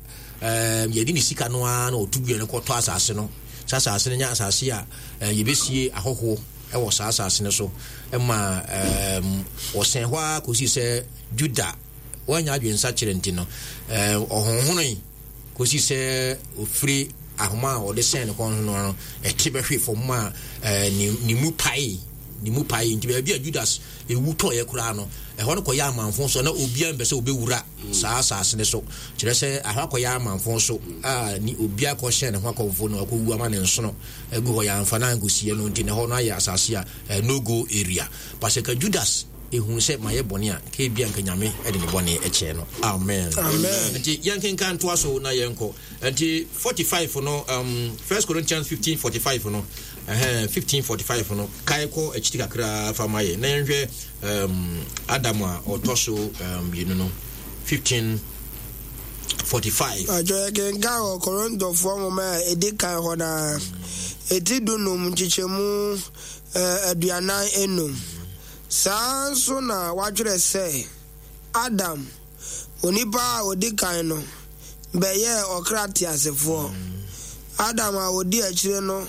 ɛɛm yɛde ne sika no ara na ɔto dua no kɔtɔ asase no sɛ asase no nyɛ asase a ɛɛ yɛbɛsie ahɔhoɔ wɔ saa asase no so ma ɛɛm wɔsɛn hɔ ara kɔsi sɛ Juda wɔanya adwensakyerɛ nti no ɛɛ ɔhonhonoe kɔsi sɛ ɔfiri ahoma a ɔde sɛn ne kɔn no no ɛte bɛhwe fam a ɛɛ ne ne mu pae ne mu pae nti baabi a Judas ewu tɔeɛ koraa no ɛhɔ no kɔyɛ amanfo so na obiara mpɛ sɛ obɛwura saa asase no so, kyerɛ sɛ ahɔ akɔyɛ amamfõ so a ne obi akɔhyɛn ne ho akɔmfo na wakɔwu ama ne nsono agu hɔ, yɛamfa no ankɔsie no nti na ɛhɔ no ayɛ asase a no go area. But sɛ ka Judas ehunu sɛ mayɛ bɔne a, ka ebia nka Nyame de ne bɔne kyɛɛ no. Amen. Amen. Nti yɛnkenkan ntoa so na yɛnkɔ. Nti 45 no, um, 1 Corinthians 15 45 no, uh, 15 45 no, kae kɔ akyiri kakra fa ma yɛ na yɛnhwɛ um, Adam a ɔtɔ so mmienu um, no 1545. Atwa yɛkenkan wɔ Korintofoɔ nwoma a ɛdi kan hɔ no ara, ɛti dunum nkyekyɛmu 45. Saa nso na wɔatwerɛ sɛ, Adam, onipa a ɔdi kan no, bɛyɛɛ ɔkra teasefoɔ. Adam a ɔdi akyire no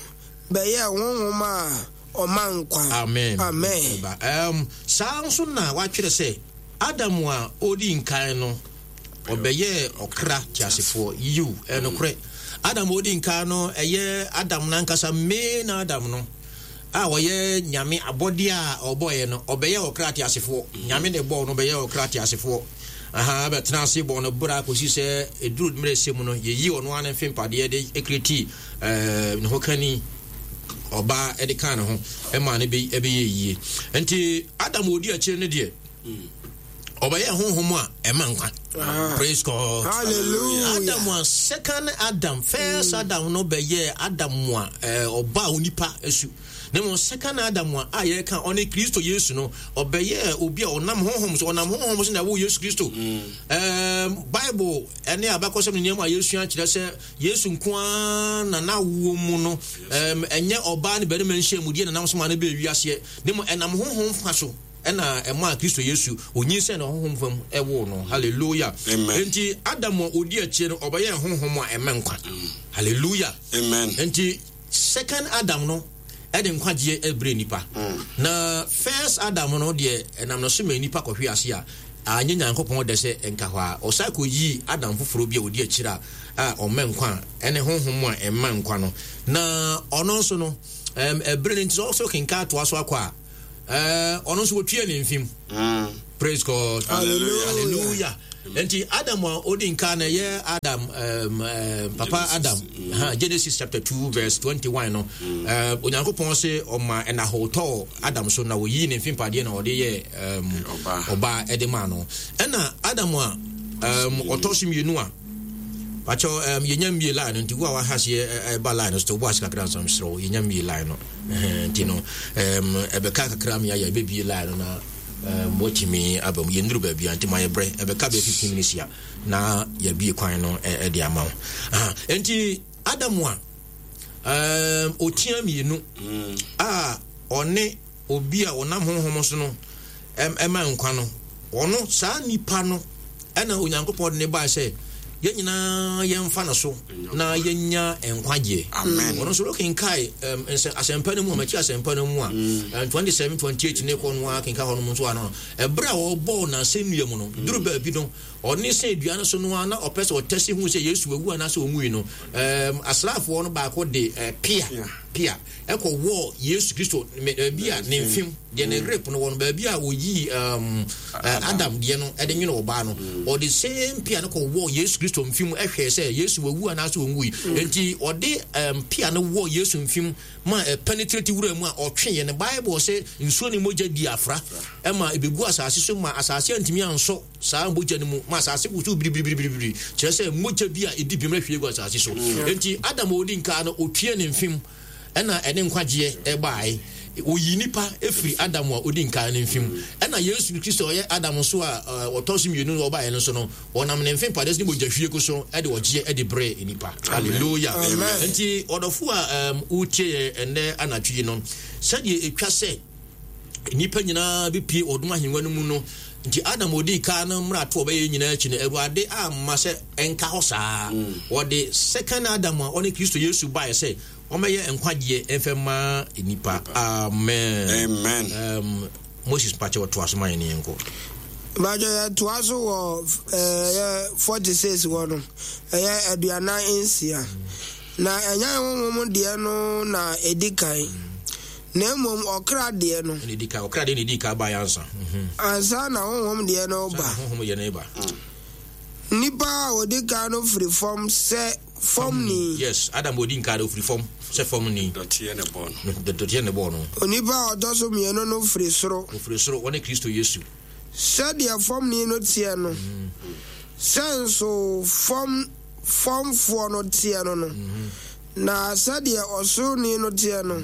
bɛyɛɛ honhom a ɔma nkwa. Amen. Amen. Um, saa nso na wɔatwerɛ sɛ Adam a ɔdi nkan no ɔbɛyɛɛ ɔkra teasefoɔ. Yiw, ɛyɛ nokorɛ. Adam a ɔdi nkan no, ɛyɛ Adam n'ankasa, main Adam no, a ɔyɛ Nyame abɔdeɛ a ɔbɔeɛ no, ɔbɛyɛɛ ɔkra teasefoɔ. Nyame na ɛbɔɔ no, ɔbɛyɛɛ ɔkra teasefoɔ. Aha, bɛtena ase bɔɔ no bra kɔsi sɛ ɛduru mmerɛ sɛ mu no, yɛyi ɔno ara ne mfempadeɛ de kretii eh, ne ho kani ɔbaa de kaa ne ho ɛmaa no bɛyɛ yie. Nti Adam ɔdi akyire no deɛ, ɔbɛyɛ honhom a ɛma nkwa. Ah. Praise God. Hallelujah. Adam a second Adam, first mm. Adam no bɛyɛ Adam a eh, ɔba onipa asu. Na mmom second Adam a a yɛka ɔne Kristo Yesu no, ɔbɛyɛ obi a ɔnam honhom so, ɔnam honhom so na ɛwɔ Yesu Kristo. Mm. Um, Bible ɛne abakɔsɛm ne nneɛma a yɛsua kyerɛ sɛ Yesu nko ara na n'awoɔ mu no, um, ɛnyɛ ɔbaa ne barima nhyiamudeɛ na nam so ma no bɛɛ wiaseɛ, na mmom ɛnam honhom fa so ɛna ɛmaa Kristo Yesu onyinsɛn na honhom fam ɛwoo no. Hallelujah. Amen. Enti Adam a odi akyire no ɔbɛyɛ honhom a ɛma nkwa. Mm. Hallelujah. Amen. Enti second Adam no ɛde nkwagyeɛ ɛbrɛ nipa. Mm. Na first Adam no deɛ ɛnam no so ma nipa kɔhwe ase a anyɛ Nyankopɔn dɛ sɛ nka hɔ a ɔsan kɔyii Adam foforɔ bi a ɔdi akyire a ɔmɛ nkwa a ɛne honhom a ɛma nkwa no. Na ɔno nso no ɛberɛ no nti sɛ ɔsɛ kenka atoa so akɔ a. Ɔno nso wɔtua ne mfim. Praise God. Hallelujah. Hallelujah. Nti Adam a odi nka na ɛyɛ Adam papa Adam ha, Genesis chapter 2 verse 21 no, Onyankopɔn se ɔma ɛnahɔ tɔɔ Adam so na oyii ne mfimpadeɛ na ɔde yɛ ɔbaa ɛde maa no. Ɛna Adam a ɔtɔ so mmienu a pakyɛ yɛnya mmie line no, nti wo a waha seɛ ɛba line no so wobɔ ase kakra nsa mesrɛ wo, yɛnya mmie line no, nti no ɛbɛka kakra me ayɛ ɛbɛbie line no na watumi aba mu. Yɛnnuru baabi a nti ma yɛbrɛ ɛbɛka bɛyɛ 15 minutes a na yɛabie kwan no ɛde ama wo. Nti Adam a ɔtia mmienu a ɔne obi a ɔnam honhom so no ɛma nkwa no, ɔno saa nipa no ɛna Onyankopɔn de ne baa sɛ yɛn nyinaa yɛmfa no so na yɛnya nkwagyeɛ. Ɔno nso wokenkae asɛmpa no mu a, makyi asɛmpa no mu a, 27 28 ne kɔ no a kenka hɔ nom nso ano, ɛberɛ a ɔbɔɔ n'asɛnnua mu no, duru baabi no ɔne sɛ dua no so no a na ɔpɛ sɛ ɔtɛsi hu sɛ Yesu awu anaasɛ ɔnwui no, asraafoɔ no baako de pea pea ɛkɔ wɔɔ Yesu Kristo baabi a ne mfem deɛ ne rep no wɔ no, baabi a ɔyii Adam deɛ no ɛde nwono ɔbaa no, ɔde same pea no kɔ wɔɔ Yesu Kristo mfem ɛhwɛɛ sɛ Yesu wawu anaasɛ ɔnwui. Enti ɔde pea no wɔɔ Yesu mfem ma ɛpenetrate wura mu a ɔtweeɛ no, Bible sɛ nsuo ne mogya di afra ɛma ɛbɛgu asase so ma asase antumi ansɔ saa mogya no mu ma asase wosow biribiribiribiri, kyerɛ sɛ mogya bi a ɛdi bem ahwie gu asase so. Enti Adam a ɔdi nkaa no, ɔtue ne mfem ɛna ɛne nkwagyeɛ ɛbaeɛ. Ɔyii nipa firi Adam a ɔdi nkaa no mfem. Ɛna Yesu Kristo a ɔyɛ Adam nso a ɔtɔ so mmienu no ɔbaeɛ no nso no, ɔnam ne mfem padeɛ so ne mogya hwiegu so ɛde ɔgyeɛ ɛde brɛɛ nipa. Hallelujah. Enti ɔdɔfo a wotie yɛn ɛnnɛ anadwo yi no, sɛdeɛ ɛtwa sɛ nnipa nyinaa bɛpue ɔdom ahengua no mu no nti, Adam ɔdii kan no mmarato a ɔbɛyɛ nyinaa akyi no, Awurade amma sɛ ɛnka hɔ saa. Ɔde second Adam a ɔne Kristo Yesu baeɛ sɛ ɔmmɛyɛ nkwagyeɛ mfɛ ma nnipa. Amen. Amen. Moses mpakyɛ ɔtoa so ma yɛn ne yɛn nkɔ. Mpakyɛ yɛtoa so wɔ ɛyɛ 46 hɔ no, ɛyɛ 46. Na ɛnyɛ honhom deɛ no na ɛdi kan, na mmom ɔkra deɛ no. Ɛna ɛdi kan, ɔkra deɛ na ɛdi kan baeɛ ansa. Ansa na honhom deɛ no ba. Honhom deɛ no ba. Nipa a ɔdi kan no firi fam sɛ famni. Yes, Adam ɔdi nkan no ɔfiri fam sɛ famni. Dɔteɛ na ɛbɔɔ no. Dɔteɛ na ɛbɔɔ no. Onipa a ɔtɔ so mmienu no firi soro. Ɔfiri soro, ɔne Kristo Yesu. Sɛdeɛ famni no teɛ no, sɛ nso fam famfoɔ no teɛ no no, na sɛdeɛ ɔsoroni no teɛ no,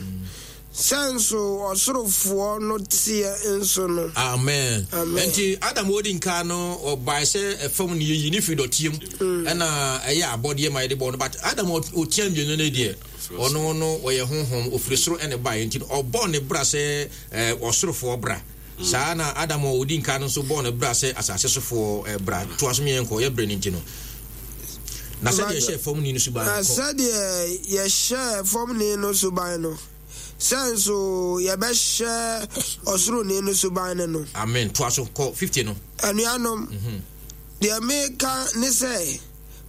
sɛ nso ɔsorofoɔ no teɛ nso no. Amen. Amen. Nti Adam odi nka no ɔbae sɛ ɛfam no yɛyi ne firi dɔteɛ mu, ɛna ɛyɛ abɔdeɛ ma yɛde bɔɔ no, but Adam ɔtia mmienu no deɛ, ɔno no ɔyɛ honhom, ɔfiri soro ɛna ɛbaeɛ, nti ɔbɔɔ ne bra sɛ ɔsorofoɔ bra. Saa na Adam a ɔdi nka no nso bɔɔ ne bra sɛ asase sofoɔ bra. Toa so mmiɛnkɔ, yɛ berɛ no nti no. Na sɛdeɛ yɛhyɛɛ fam ni no suban no, Na kɔ. sɛdeɛ yɛhyɛɛ fam ni no suban no, sɛ nso yɛbɛhyɛ ɔsoroni no suban no no. Amen. Toa so, kɔ 50 no. Anuanom, deɛ meka ne sɛ,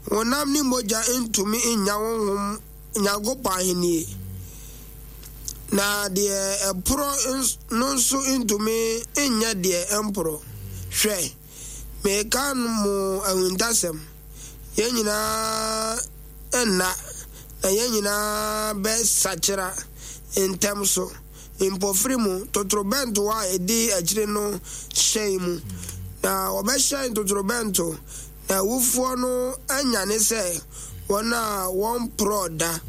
honam ne mogya ntumi nnya honhom Nyankopɔn ahennie, na deɛ ɛporɔ no nso ntumi nyɛ deɛ ɛmporɔ. Hwɛ, mereka mo ahuntasɛm, yɛn nyinaa nna, na yɛn nyinaa bɛsakyera ntɛm so, mpofiri mu, totorobɛnto a ɛdi akyire no hyɛn mu, na wɔbɛhyɛn totorobɛnto, Na awufoɔ no anyane sɛ wɔn a wɔmporɔɔ da,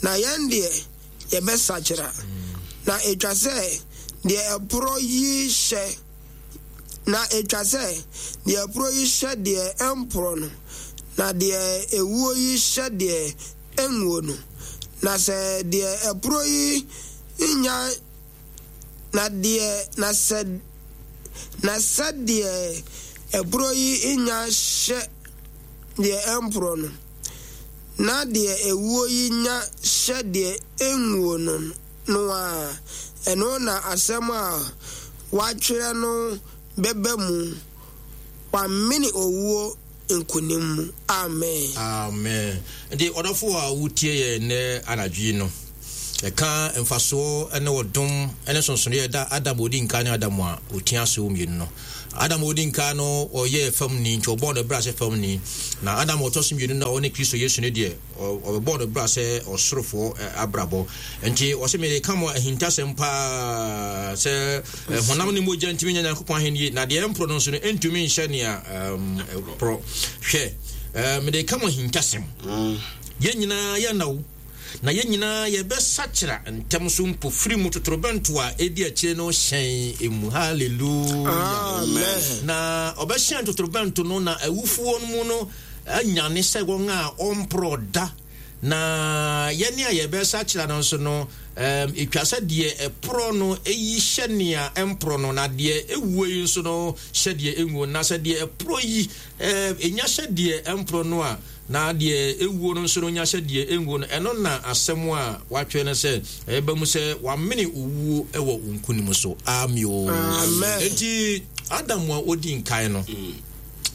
na yɛn deɛ, yɛbɛsakyera. Na ɛtwa sɛ deɛ ɛporɔ yi hyɛ, na ɛtwa sɛ deɛ ɛporɔ yi hyɛ deɛ ɛmporɔ no, na deɛ ɛwuo yi hyɛ deɛ ɛnwuo no. Na sɛ deɛ ɛporɔ yi nya Na deɛ, na sɛ, na sɛ deɛ ɛporɔ yi nya hyɛ deɛ ɛmporɔ no, na deɛ ɛwuo yi nya hyɛ deɛ ɛnwuo no no a, ɛno na asɛm a wɔatwerɛ no bɛba mu, Wamene owuo nkonim mu. Amen. Amen. Nti ɔdɔfo a wotie yɛn nnɛ anadwo yi no, Ɛka mfasoɔ ne ɔdom ne nsonsonoeɛ a ɛda Adam a ɔdi nkan ne Adam a ɔtia so mmienu no. Adam a ɔdi nkan no ɔyɛɛ fam ni, nti ɔbɔɔ no bra sɛ fam ni. Na Adam a ɔtɔ so mmienu no a ɔne Kristo Yesu no deɛ, ɔbɛbɔɔ no bra sɛ ɔsorofoɔ abrabɔ. Nti ɔse mereka mo ahintasɛm paa sɛ honam ne mogya ntumi nya Nyankopɔn ahennie, na deɛ ɛmporɔ no nso no ɛntumi nhyɛ nea ɛporɔ. Hwɛ, mede ka mo ahintasɛm. Yɛn nyinaa yɛnna wo. Na yɛn nyinaa yɛbɛsakyera ntɛm so mpofirim mu totorobɛnto a edi akyire no hyɛn mu. Hallelujah. Amen. Na ɔbɛhyɛn totorobɛnto no na awufoɔ no mu no anyane sɛ wɔn a ɔmporɔ da. Na yɛne a yɛbɛsakyera no nso no, ɛtwa sɛ deɛ ɛporɔ no yi hyɛ nea ɛmporɔ no, na deɛ ɛwuo yi nso no hyɛ deɛ ɛnwuo. Na sɛ deɛ ɛporɔ yi ɛnya hyɛ deɛ ɛmporɔ no a, Na deɛ ɛwuo no nso no nya sɛ deɛ ɛnwuo no, ɛno na asɛm a wɔatwerɛ no sɛ, ɛbɛba mu sɛ, Wɔamene owuo wɔ wo nkonim so. Ameo. Amen. Enti Adam a ɔdi nkan no,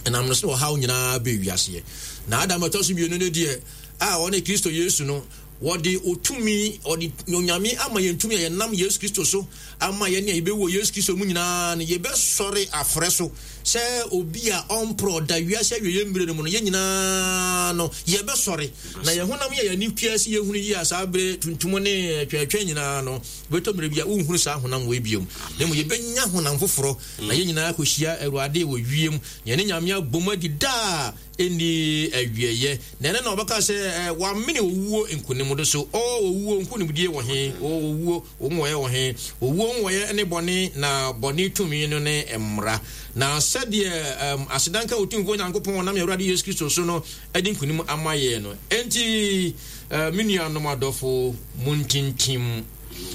ɛnam no so na ɔhaw nyinaa bɛɛ wiaseɛ. Na Adam a ɛtɔ so mmienu no deɛ, a ɔne Kristo Yesu no, wɔde otumi, ɔde Onyame ama yɛn tumi a yɛnam Yesu Kristo so ama yɛn a yɛbɛwu wɔ Yesu Kristo mu nyinaa no, yɛbɛsɔre afrɛ so sɛ obi a ɔmporɔ da wiase awieeɛ mmerɛ no mu no, yɛn nyinaa no, yɛbɛsɔre. Na yɛn honam yɛ yɛn ani tua sɛ yɛhunu yie a saa berɛ tuntum ne twɛntwɛn nyinaa no, bɛtɔ mmerɛ bi a wonhunu saa honam wei biom. Na mmom yɛbɛnya honam foforɔ, na yɛn nyinaa akɔhyia Awurade wɔ wiem, na yɛne Nyame abom adi daa ɛnni awieeɛ. Na ɛno na ɔbɛka sɛ, Wamene owuo nkonimdo so. O owuo, nkonimdie wɔ he? O owuo, Wo nwɔeɛ wɔ he? Owuo nwɔeɛ ne bɔne, na bɔne tumi no ne mmara. Na sɛdeɛ um, aseda nka Otumfoɔ Nyankopɔn ɔnam yɛn Awurade Yesu Kristo so no adi nkonim ama yɛn no. Enti, uh, me nuanom adɔfo, montintim,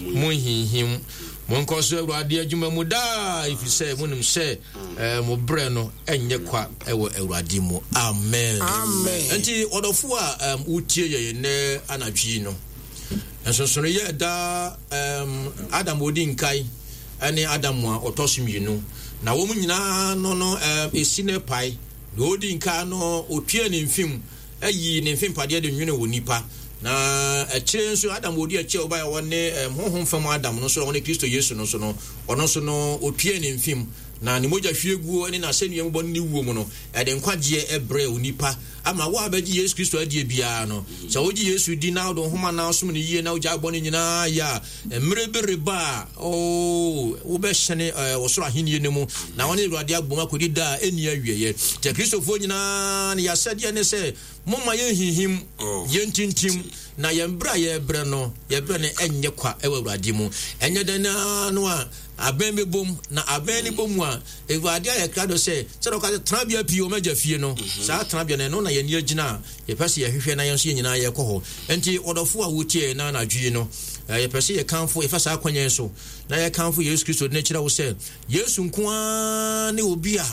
monhinhim, monkɔ so Awurade adwuma mu daa, ɛfiri sɛ monim sɛ uh, mo berɛ no ɛnyɛ kwa wɔ Awurade mu. Amen. Amen. Enti, ɔdɔfo a um, wotie yɛn nnɛ anadwo yi no, Nsonsonoeɛ a ɛda Adam a ɔdi nkan ne Adam a ɔtɔ so mmienu, na wɔn nyinaa no no ɛsi no pae. Deɛ ɔdi nkan no, ɔtua ne mfem yii ne mfempadeɛ de nwene wɔ nipa. Na akyire nso Adam a ɔdi akyire a ɔbaeɛ a ɔne honhom fam Adam no nso a ɔne Kristo Yesu no nso no, ɔno nso no ɔtua ne mfem na ne mogya hwieguo ne n'asɛnnua mu bɔ ne ne wuo mu no, ɛde nkwagyeɛ brɛɛ onipa. Ama wo a bɛgye Yesu Kristo adie biara no, sɛ wogye Yesu di na wode wo ho ma na wosom no yie na wogyae bɔne nyinaa yɛ a, mmerɛ bi reba a, oo, wobɛhyɛne eh, ɔsoro ahennie no mu na wo ne Awurade abom akɔdi da a ɛnni awieɛ. Nti Akristofoɔ nyinaa no, yɛasɛdeɛ ne sɛ momma yɛnhinhim, Oh. yɛntintim, na yɛn berɛ a yɛrebrɛ no, yɛbrɛ no ɛnyɛ kwa wɔ Awurade mu. Ɛnyɛ dɛn ara no a, abɛn bɛbom, na abɛn no bɔ mu a, Awurade ayɛ krado sɛ, sɛdeɛ ɔka sɛ, tenabea pii wɔ m'agya fie no, saa tenabea no, ɛno na yɛn ani agyina a yɛpɛ sɛ yɛhwehwɛ na yɛn nso yɛn nyinaa yɛkɔ hɔ. Enti, ɔdɔfo a wotie yɛn nnɛ anadwo yi no, yɛpɛ sɛ yɛkamfo, yɛfa saa akwannya yi so na yɛkamfo Yesu Kristo de no kyerɛ wo sɛ, Yesu nko ara ne obi a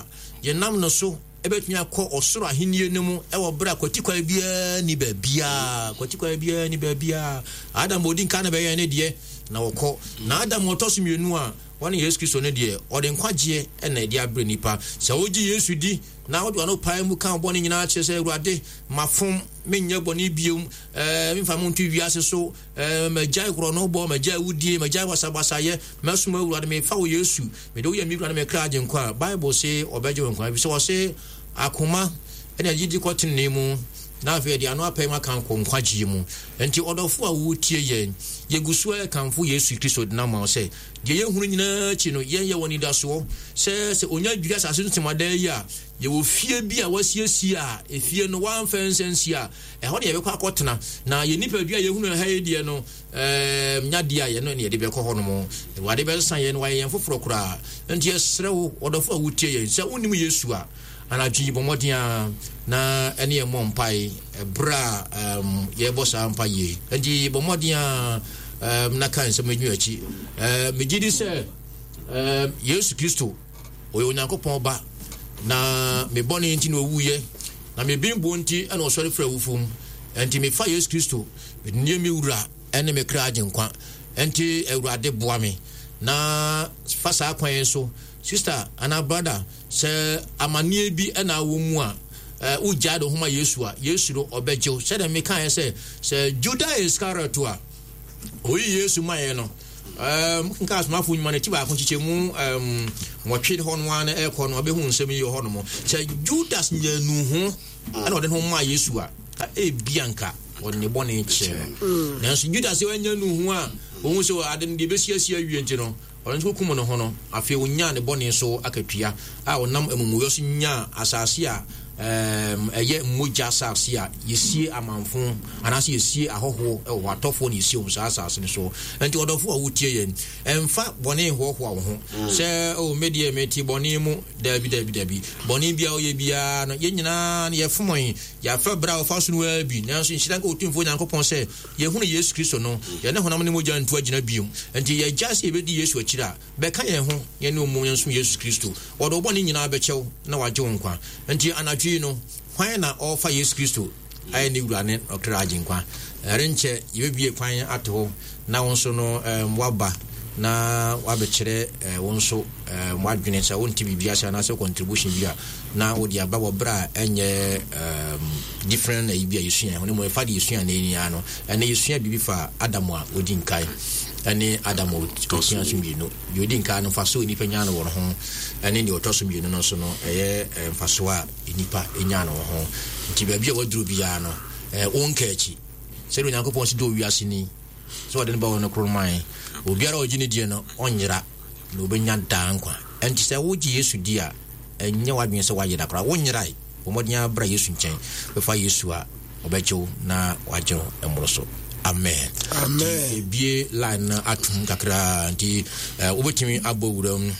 yɛnam no so bɛtumi akɔ ɔsoro ahenni no mu wɔ berɛ a kwatikwan biara ni baabiara. Kwatikwan biara ni baabiara. Adam a ɔdi nkan na bɛyɛ ne deɛ na ɔkɔ. Na Adam a ɔtɔ so mmienu a Ɔne Yesu Kristo no deɛ, ɔde nkwagyeɛ na ɛde abrɛ nnipa. Sɛ wogye Yesu di na wode w'ano pae mu ka wo bɔne nyinaa kyerɛ sɛ, Awurade, mafom, menyɛ bɔne biom, ɛɛ, memfa mo nto wiase so, ɛɛ, magyae korɔnobɔ, magyae awudie, magyae basabasayɛ, mɛsom Awurade, mefa wo Yesu, mede wo yɛ me wura ne me kra agyenkwa a, Bible se ɔbɛgye wo nkwa, efisɛ ɔse akoma na gyidi kɔ tenenee mu, na afei ɛde ano apae mu aka kɔ nkwagyeɛ mu. Enti ɔdɔfo a wotie yɛn, yɛgu so ara kamfo Yesu Kristo de no ama wo sɛ, Deɛ yɛhunu nyinaa akyi no, yɛn yɛwɔ anidasoɔ sɛ sɛ ɔnya dwiri asase so ntemadan yi a, yɛwɔ fie bi a wasiesie a efie no wamfa nsa nsi a, ɛhɔ na yɛbɛkɔ akɔtena. Na yɛn nipadua a yɛhunu ha yi deɛ no, ɛɛm, nya deɛ a yɛn no na yɛde bɛkɔ hɔ nom. Awurade bɛsesa yɛn na wayɛ yɛn foforɔ koraa. Enti yɛsrɛ wo, ɔdɔfo a wotie yɛn, sɛ wonnim Yesu a, anadwo yi bɔ mmɔden ara na ɛne yɛn mmɔ mpae ɛberɛ a um, yɛrebɔ saa mpae yi. Enti bɔ mmɔden ara um, na ka nsɛm yi akyi. Uh, megye di sɛ um, Yesu Kristo ɔyɛ Onyankopɔn ba na me bɔne nti na ɔwuiɛ na me bembuo nti na ɔsɔre firi awufo mu. Enti mefa Yesu Kristo mede no yɛ me wura ne me kra agyenkwa. Enti Awurade boa me na fa saa kwan yi so Sister anaa brother, sɛ amanneɛ bi na awɔ mu a, wogyae de ho ma Yesu a, Yesu no ɔbɛgye wo. Sɛdeɛ mekaeɛ sɛ, sɛ Judah Iscariot a, Oyi Yesu maeɛ no, um, kenka Asomafo Nnwuma no ti baako nkyekyɛmu um, nwɔtwe hɔ no ara na ɛrekɔ no, ɔbɛhu nsɛm yi wɔ hɔ nom. Sɛ Judas nyaa nuho ɛna ɔde ne ho maa Yesu a, ka ebia nka ɔde ne bɔne kyɛɛ no. Mm. Nanso Judas sɛ wanya nuho a, ɔhu sɛ ade no deɛ ɛbɛsi asi awie nti no, ɔno nso kum ne ho no, afei ɔnyaa ne bɔne so akatua a ɔnam amumuyɔ so nyaa asase a ɛyɛ mogya asase a yɛsie amanfo anaasɛ yɛsie ahɔhoɔ wɔ hɔ, atɔfoɔ na yɛsie wɔn saa asase no so. Nti ɔdɔfoɔ a wotie yɛn, ɛmfa bɔne nhoahoa wo ho mm. sɛ o oh, me deɛ mete bɔne mu. Daabi, daabi, daabi. Bɔne biara woyɛ biara no, yɛn nyinaa no yɛfom yɛn, yɛafa berɛ a wɔfa so no ara bi. Nanso nhyira nka Otumfoɔ Nyankopɔn sɛ yɛhunu Yesu Kristo no, yɛne honam ne mogya ntu agyina bio. Nti yɛgyae sɛ yɛbɛdi Yesu akyiri a, Bɛka yɛn ho, yɛne wo mmom yɛnsom Yesu Kristo. Ɔde wo bɔne nyinaa bɛkyɛ wo na wagye wo nkwa. Enti anadwo yi no, hwan na ɔrefa Yesu Kristo ayɛ ne Wura ne ɔkra Agyenkwa? Ɛrenkyɛ yɛbɛbue kwan ato hɔ na wo nso no woaba na woabɛkyerɛ wo nso w'adwene sɛ wonte biribi ase anaasɛ contribution bi a na wode aba wɔ berɛ a ɛnyɛ different ayi bi a yɛsua ho ne mmom ɛfa de yɛsua na ɛni no ɛnɛ yɛsua biribi fa Adam a ɔdi nkae ɛne Adam a ɔtua so mmienu. Deɛ ɔdi nkan no, mfasoɔ a nnipa nya no wɔ ne ho, ɛne deɛ ɔtɔ so mmienu no nso no, ɛyɛ mfasoɔ a nnipa nya no wɔ ho. Nti baabi a waduro biara no, wonka akyi. Sɛdeɛ Onyankopɔn si dɔ wiase ni, sɛ ɔde ne ba wɔ no koro mae, obiara a ɔgye ne die no, ɔnyera, na ɔbɛnya daa nkwa. Ɛnti sɛ wogye Yesu di a, ɛnyɛ w'adwene sɛ woayera koraa. Wonyerae. Bɔ mmɔden ara bra Yesu nkyɛn. Bɛfa Yesu a, ɔbɛgye wo na wagye wo mmoro so. Amen. Amen. Ebie line no atum kakra nti eh, wobɛtumi abɔ wura mu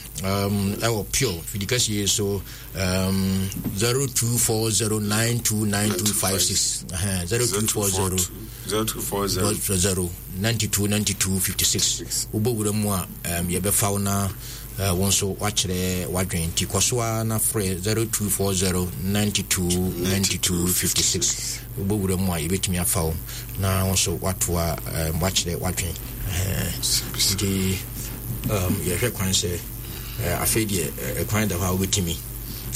ɛwɔ pure fidikɛseɛ so 0240929256 0240 0240 929256 wobɔ wura mu a yɛbɛfa wo na Wo nso woakyerɛ w'adwene nti kɔ so ara na frɛ 0240 92 92 56. Wobɔ wura mu a yɛbɛtumi afa wo na wo nso woatoa woakyerɛ w'adwene. Nti yɛhwɛ kwan sɛ afei deɛ kwan da hɔ a wobɛtumi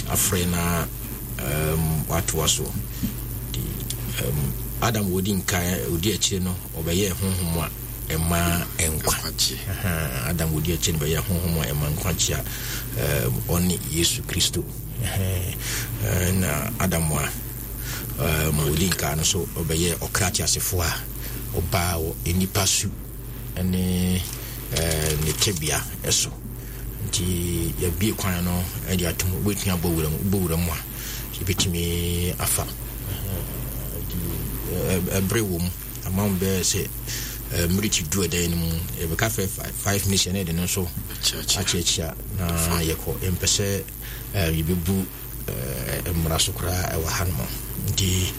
afrɛ na woatoa so. Nti Adam wɔdi nkan ɔdi akyire no ɔbɛyɛɛ honhom a ɛma nkwagye. Adam odi akyi no bɛyɛ honhom a ɛma nkwagye a ɔne Yesu Kristo. Na Adam a odi nkaa no so ɔbɛyɛ ɔkra teasefo a ɔbaa wɔ nnipa su ne ne tebea so. Nti yɛabue kwan no de atom, wobɛtumi abɔ wura mu, wobɔ wura mu a yɛbɛtumi afa. Ɛbere wɔ mu. Ama wo bɛyɛ sɛ mmirikyi du ɛdan no mu yɛbɛka fɛ 5 minutes ɛna ɛde no nso akyiakyia na yɛkɔ. Yɛmpɛ sɛ yɛbɛbu mmara so koraa ɛwɔ ha nom nti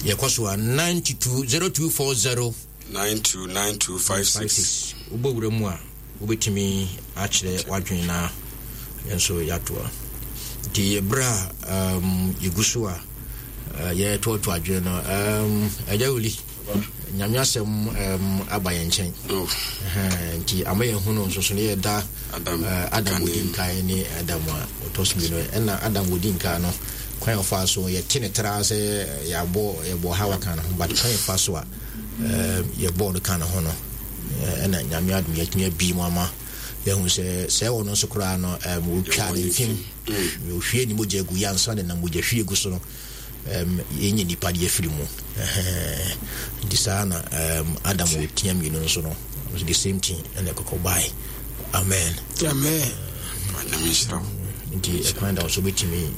yɛkɔ so a 92 0240 929256. Wobɔ wura mu a wobɛtumi akyerɛ w'adwene na yɛn nso yɛatoa. Nti ɛberɛ a yɛgu so a yɛtoatoa adwene no, Agya Wuli, Nyame asɛm aba yɛn nkyɛn. Oh. Nti ama yɛn hunu nso so ne yɛda Adam, Adam ɔdi nkan ne Adam a ɔtɔ so mmienu. Ɛna Adam ɔdi nkan no, kwan a ɔfaa so yɛte ne tra sɛ yɛabɔ yɛbɔ Hawa ka no ho, but kwan yɛfa so a yɛbɔɔ no ka no ho no, ɛna Nyame adom yɛatumi abi mu ama yɛahu sɛ sɛ ɔno nso koraa no wɔtwaa ne mfem, ɔhwie ne mogya gu yɛ ansa ne nam mogya hwie gu so no yɛnyɛ nipa de afiri mu. Nti saa na Adam ɔtia mmienu nso no the same thing ɛna ɛkɔkɔ bae. Amen. Amen. Nti ɛkwan da so bɛtumi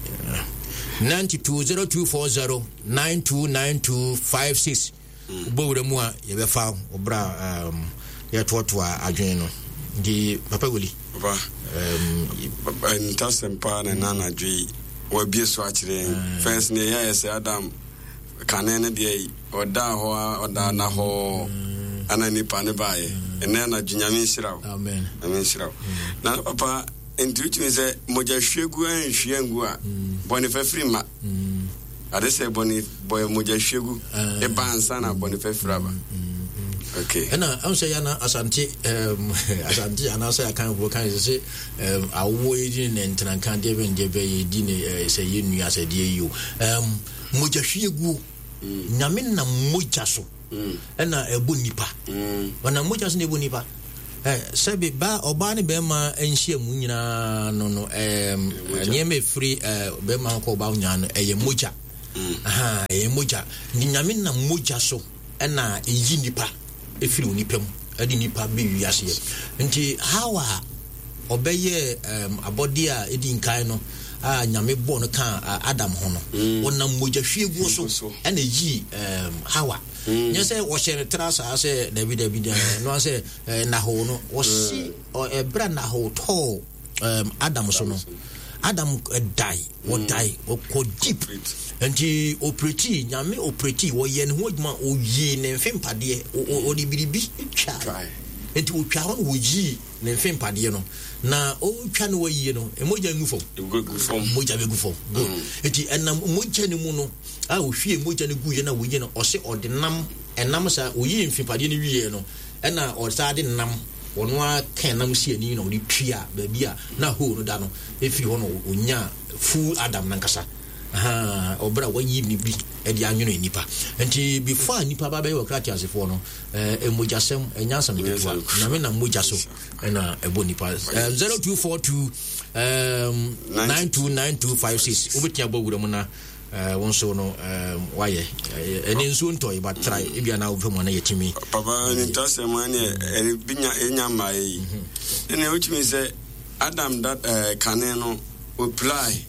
92 0240 9292 56 Wobɔ wura mu a yɛbɛfa wo berɛ a um, yɛtoatoa adwene no. Nti Papa Wuli. Papa, um, ntasɛm paa na ɛna anadwo yi wabie so akyerɛ yɛn. Mm. First ne ɛyɛ sɛ Adam kane no deɛ ɔdaa hɔ a ɔdaa na hɔ mm. ana nipa ne baeɛ. Mm. Ɛnɛ anadwo Nyame nhyira wo. Amen. Nyame nhyira wo. Na papa nti wotumi sɛ mogya hwie gu anhwie angu a bɔne fafiri mma. Ade sɛ bɔne bɔ mogya hwie gu ɛba ansa na bɔne fafiri aba. Okay. Ɛna ɛho sɛ yana asante asante anaasɛ akanfoɔ kan sɛ sɛ awoɔ yɛdi ne ntenanka deɛ bɛn deɛ bɛ yɛdi ne sɛ yɛ nua sɛ deɛ yi o mogya hwie guo. Nyame nam mogya so. ɛna ɛbɔ nipa. Ɔnam mogya so na ɛbɔ nipa. Sɛbi ba ɔbaa ne bɛrima nhyia mu nyinaa no no nneɛma ɛfiri bɛrima ho kɔ ɔbaa nyinaa no ɛyɛ mogya. Ɛyɛ mogya. Nyame nam mogya so ɛna ɛyi nipa ɛfiri onipa mu ɛde nipa bɛ wiaseɛ. Nti how a ɔbɛyɛ abɔdeɛ a ɛdi nkan no a Nyame bɔɔ no kaa Adam ho no, ɔnam mogya hwieguo so ɛna ɛyii Hawa. Nyɛ sɛ wɔhyɛ no tra saa sɛ dabi dabi no sɛ nahoo no wɔsi ɛberɛ a nahoo tɔɔ Adam so no, Adam dae, wɔdae, wɔkɔ deep. Nti opereti, Nyame opereti, wɔyɛ ne ho adwuma, ɔyii ne mfe mpadeɛ, ɔde biribi twa. Nti ɔtwa hɔ no wɔyii ne mfe mpadeɛ no, na ɔretwa no wɔyie no, mogya ngu fam. Mogya bɛgu fam. Good. Nti ɛnam mogya no mu no, a ɔhwie mogya no guiɛ na wɔyie no, ɔse ɔde nam, ɛnam saa, ɔyii mfe mpadeɛ no wieɛ no, ɛna ɔsaa de nam, ɔno ara ka nam si ani na ɔde tua baabi a na hole no da no, ɛfiri hɔ no ɔnyaa full Adam nankasa. Ahaa, ɔbrɛ a wayi ne bi de anwono nnipa. Nti before a nnipa ba bɛyɛ ɔkra teasefoɔ no, eh, mogyasɛm, ɛnyɛ asɛm ketewa. Nyame nam mogya so ɛna ɛbɔ nnipa. Eh, 0242 um, 929256 wobɛtumi abɔ wura mu na eh, wo nso no um, wayɛ ɛne nsuo ntɔe but try ebia na wopɛ mu ana yɛtumi. Papa ne ntasɛm ɛne ɛne bi nya ɛnya mmaeɛ yi. Ɛne wotumi sɛ Adam da eh, kane no Opirae.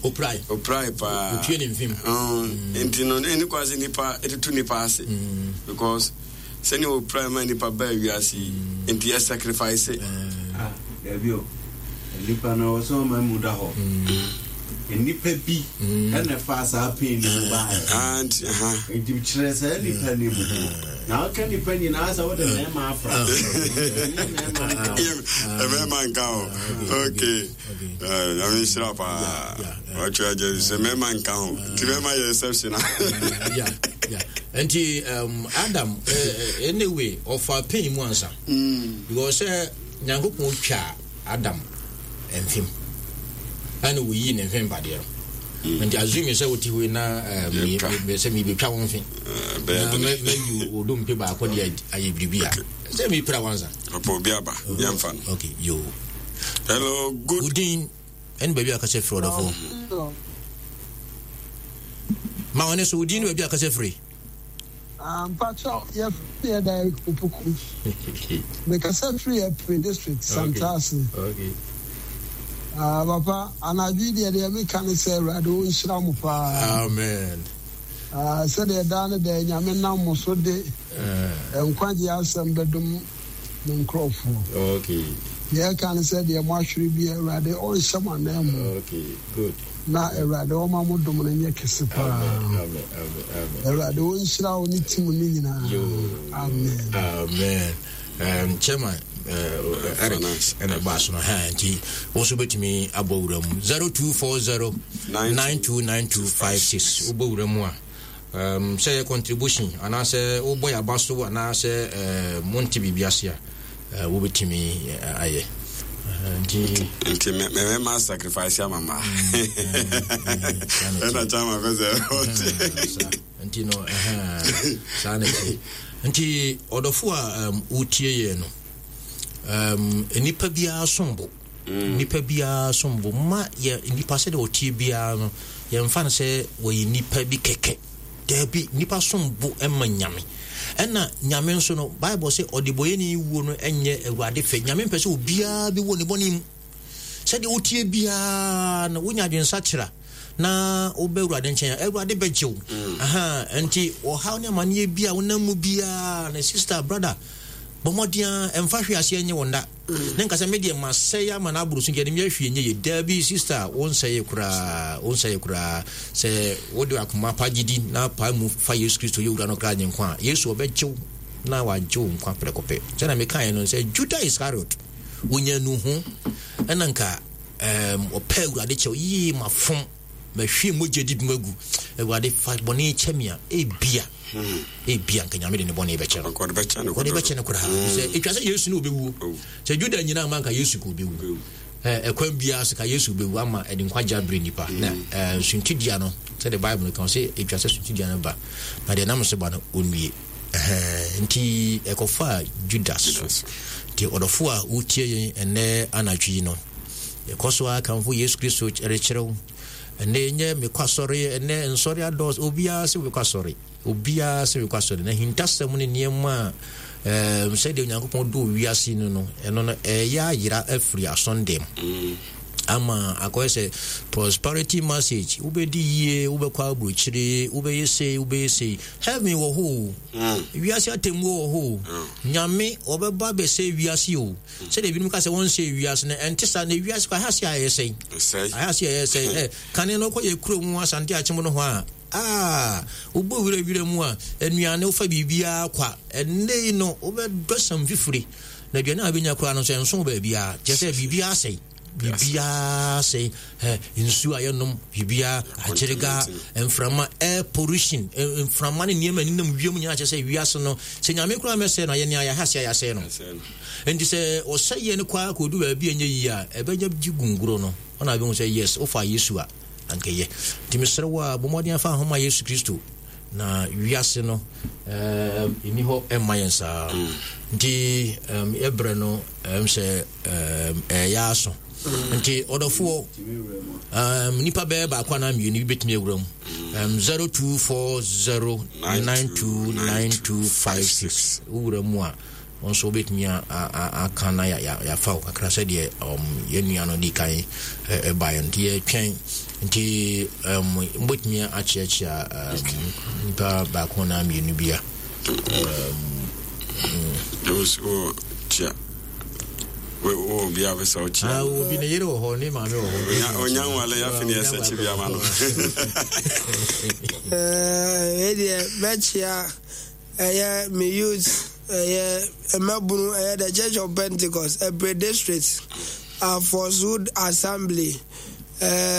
Opirae. Opirae paa. Otue ne mfem. Nti no ɛni kwa sɛ nipa ɛtutu nipa ase. Because sɛnea opirae ma nipa baa wiase yi nti ɛ sacrifice. Ah, dabi o. Nipa no ɔsɛ ɔma mu da hɔ. Nipa bi ɛna ɛfaa saa pain no mu baeɛ. Ah, nti aha. Nti kyerɛ saa nipa no mu. Na woka nipa nyinaa sɛ wode mmarima afra. Mmarima nka ho. Okay. Nyame nhyira paa. Watwa agya sɛ mmarima nka ho. Nti mmarima yɛ exception. Yeah, yeah. Nti Adam anyway ɔfa pain mu ansa. Because sɛ Nyankopɔn twa Adam mfem ɛna wɔyii ne mfe mpadeɛ no. Nti assume sɛ wote hɔ yi na sɛ mebɛtwa wo mfe na mayi wo dompe baako de ayɛ biribi a sɛ mepira wansa. Ɔpɛ obi aba yɛmfa no. Okay, yo. Hello, good. Wodin ɛne baabi a kasa firi ɔdɔfo. Ma wɔne so wodin ne baabi a kasa firi. Mpakyɛw yɛfrɛ yɛ Derrick Opoku. Mekasa firi Apire district Santase. Okay. Ah, papa, anadwo yi deɛ deɛ meka ne sɛ Awurade ɔnhyira mo paa. Amen. Ah, sɛdeɛ daa ne daa Nyame nam mo so de nkwagyeɛ asɛm bɛdom ne nkurɔfoɔ. Okay. Deɛ ɛka ne sɛ deɛ moahwere bi Awurade ɔnhyɛ mo ananmu. Okay, good. Na Awurade ɔma mo dom no nyɛ kɛse paa. Amen, amen, amen, amen. Awurade ɔnhyira wo ne team no nyinaa. Amen. Amen. Chairman Eric ɛna ɛbɔ aso no ha nti wo nso bɛtumi abɔ wura mu 0240 929256 wobɔ wura mu a sɛ yɛ contribution anaasɛ wobɔ yɛ aba so anaasɛ monte biribi ase a wobɛtumi ayɛ nti nti mɛma sacrifice ama ma ɛna kyama pɛ sɛ ɔte nti no saa na ɛte nti ɔdɔfo a wotie yɛn no nnipa biara som bo nnipa biara som bo ma yɛ nnipa sɛdeɛ ɔtie biara no yɛmfa no sɛ wɔyɛ nnipa bi kɛkɛ daabi nnipa som bo ma Nyame ɛna Nyame nso no Bible sɛ ɔdebɔyɛni wuo no ɛnyɛ Awurade fɛ. Nyame mpɛ sɛ obiara bi wɔ ne bɔne mu. Sɛdeɛ wotie biara no wonya adwensakyera na wobɛ Awurade nkyɛn a Awurade bɛgye wo. Aha, nti ɔhaw ne amanneɛ bi a wonam mu biara no sister brother bɔ mmɔden a ɛmfa hwe aseɛ nye wo nda. Ne nka sɛ me deɛ masɛe ama no aboro so nti ɛde me ahwie nyɛ yie. Daabi sister, wonsɛe koraa, wonsɛe koraa. Sɛ wode akoma pa gyidi na pae mu fa Yesu Kristo yɛ wura no kra nye nkwa a, Yesu ɔbɛgye wo na wagye wo nkwa prɛko pɛ. Sɛnea mekaeɛ no sɛ Juda Iscariot wonya nuhu ɛna nka ɔpɛ Awurade kyɛw yie mafom mahwie mogya di bi magu Awurade fa bɔne kyɛ me a ebia ebia nka Nyame de ne bɔne bɛkyɛ no. Ɔde bɛkyɛ no Ɔde bɛkyɛ no koraa. Sɛ etwa sɛ Yesu ne ɔbɛwuo. Sɛ Juda nyina ama nka Yesu ka ɔbɛwu. Ɛkwan biara so ka Yesu bɛwu ama ɛde nkwagye abrɛ nipa. Na suntidua no sɛdeɛ Bible no ka sɛ etwa sɛ suntidua no ba na deɛ nam so ba no ɔnwie. Nti ɛkɔfaa Judas so. Nti ɔdɔfo a wotie yɛn ɛnnɛ anadwo yi no, yɛkɔ so ara kamfo Yesu Kristo rekyerɛ wo. Ɛnnɛ nyɛ mekɔ asɔre, ɛnnɛ nsɔre adɔɔso, obiara sɛ wobɛkɔ asɔre, obiara sɛ wobɛkɔ asɔre. Na ahintasɛm ne nneɛma a ɛɛm sɛdeɛ Onyankopɔn dɔ wiase no no, ɛno no ɛyɛ ayera afiri asɔndɛm. Mm. Ama akɔyɛ sɛ prosperity message, wobɛdi yie, wobɛkɔ aburokyire, wobɛyɛ sei, wobɛyɛ sei. Heaven wɔ hɔ o. Mm. Wiase atemmuo wɔ hɔ o. Mm. Nyame ɔbɛba bɛsɛ wiase o. Mm. Sɛdeɛ ebinom ka sɛ wɔnsɛ wiase no, ɛnte saa na wiase kɔ ahase a ɛyɛ sɛn. Ahase a ɛyɛ sɛn. Ɛ kane no kɔ yɛ kuro mu Asante Akyem no hɔ a, ah, wobɔ wura wura mu a, nnuane wofa biribiara kwa. Ɛnnɛ yi no, wobɛdɔ sam fifiri. Na aduane a wobɛnya koraa no nso ɛnso baabiara. Kyerɛ sɛ biribiara asɛe. Biribiara asɛe. Ɛ nsuo a yɛnom, biribiara agyerega, mframa, air pollution, mframa ne nneɛma nenam wiem nyinaa kyerɛ sɛ wiase no, sɛ Nyame koraa mɛsɛe no a, yɛne ayɛ ahase a yɛasɛe no. Nti sɛ ɔsɛeɛ no kɔ ara kɔdu baabi a ɛnyɛ yie a, ɛbɛnya gye gunguro no. Ɔna bɛhu sɛ yes, wofa Yesu a, anka ɛyɛ. Nti mesrɛ wo a, bɔ mmɔden afa ho ma Yesu Kristo. Na wiase no ɛni hɔ ɛmma yɛn saa. Nti yɛbrɛ no ɛm sɛ ɛyɛ aso. Nti ɔdɔfoɔ nipa bɛyɛ baako anaa mmienu bi bɛtumi awura mu. 0240929256 wowura mu a Wo nso wobɛtumi aka na yɛafa wo kakra sɛdeɛ yɛn nua no di kan baeɛ nti yɛtwɛn nti wobɛtumi akyeakyea nipa baako na mmienu bi a. Kyia obi a bɛsɛ ɔkyia obi ne yere wɔ hɔ ne maame wɔ hɔ ɔnya nwale afe ne ɛsɛ kye bi ama no. Ɛdeɛ mɛkyia Ɛyɛ me youth, ɛyɛ mmabunu, ɛyɛ The Church of Pentecost, Ɛpre District, Afɔswood Assembly.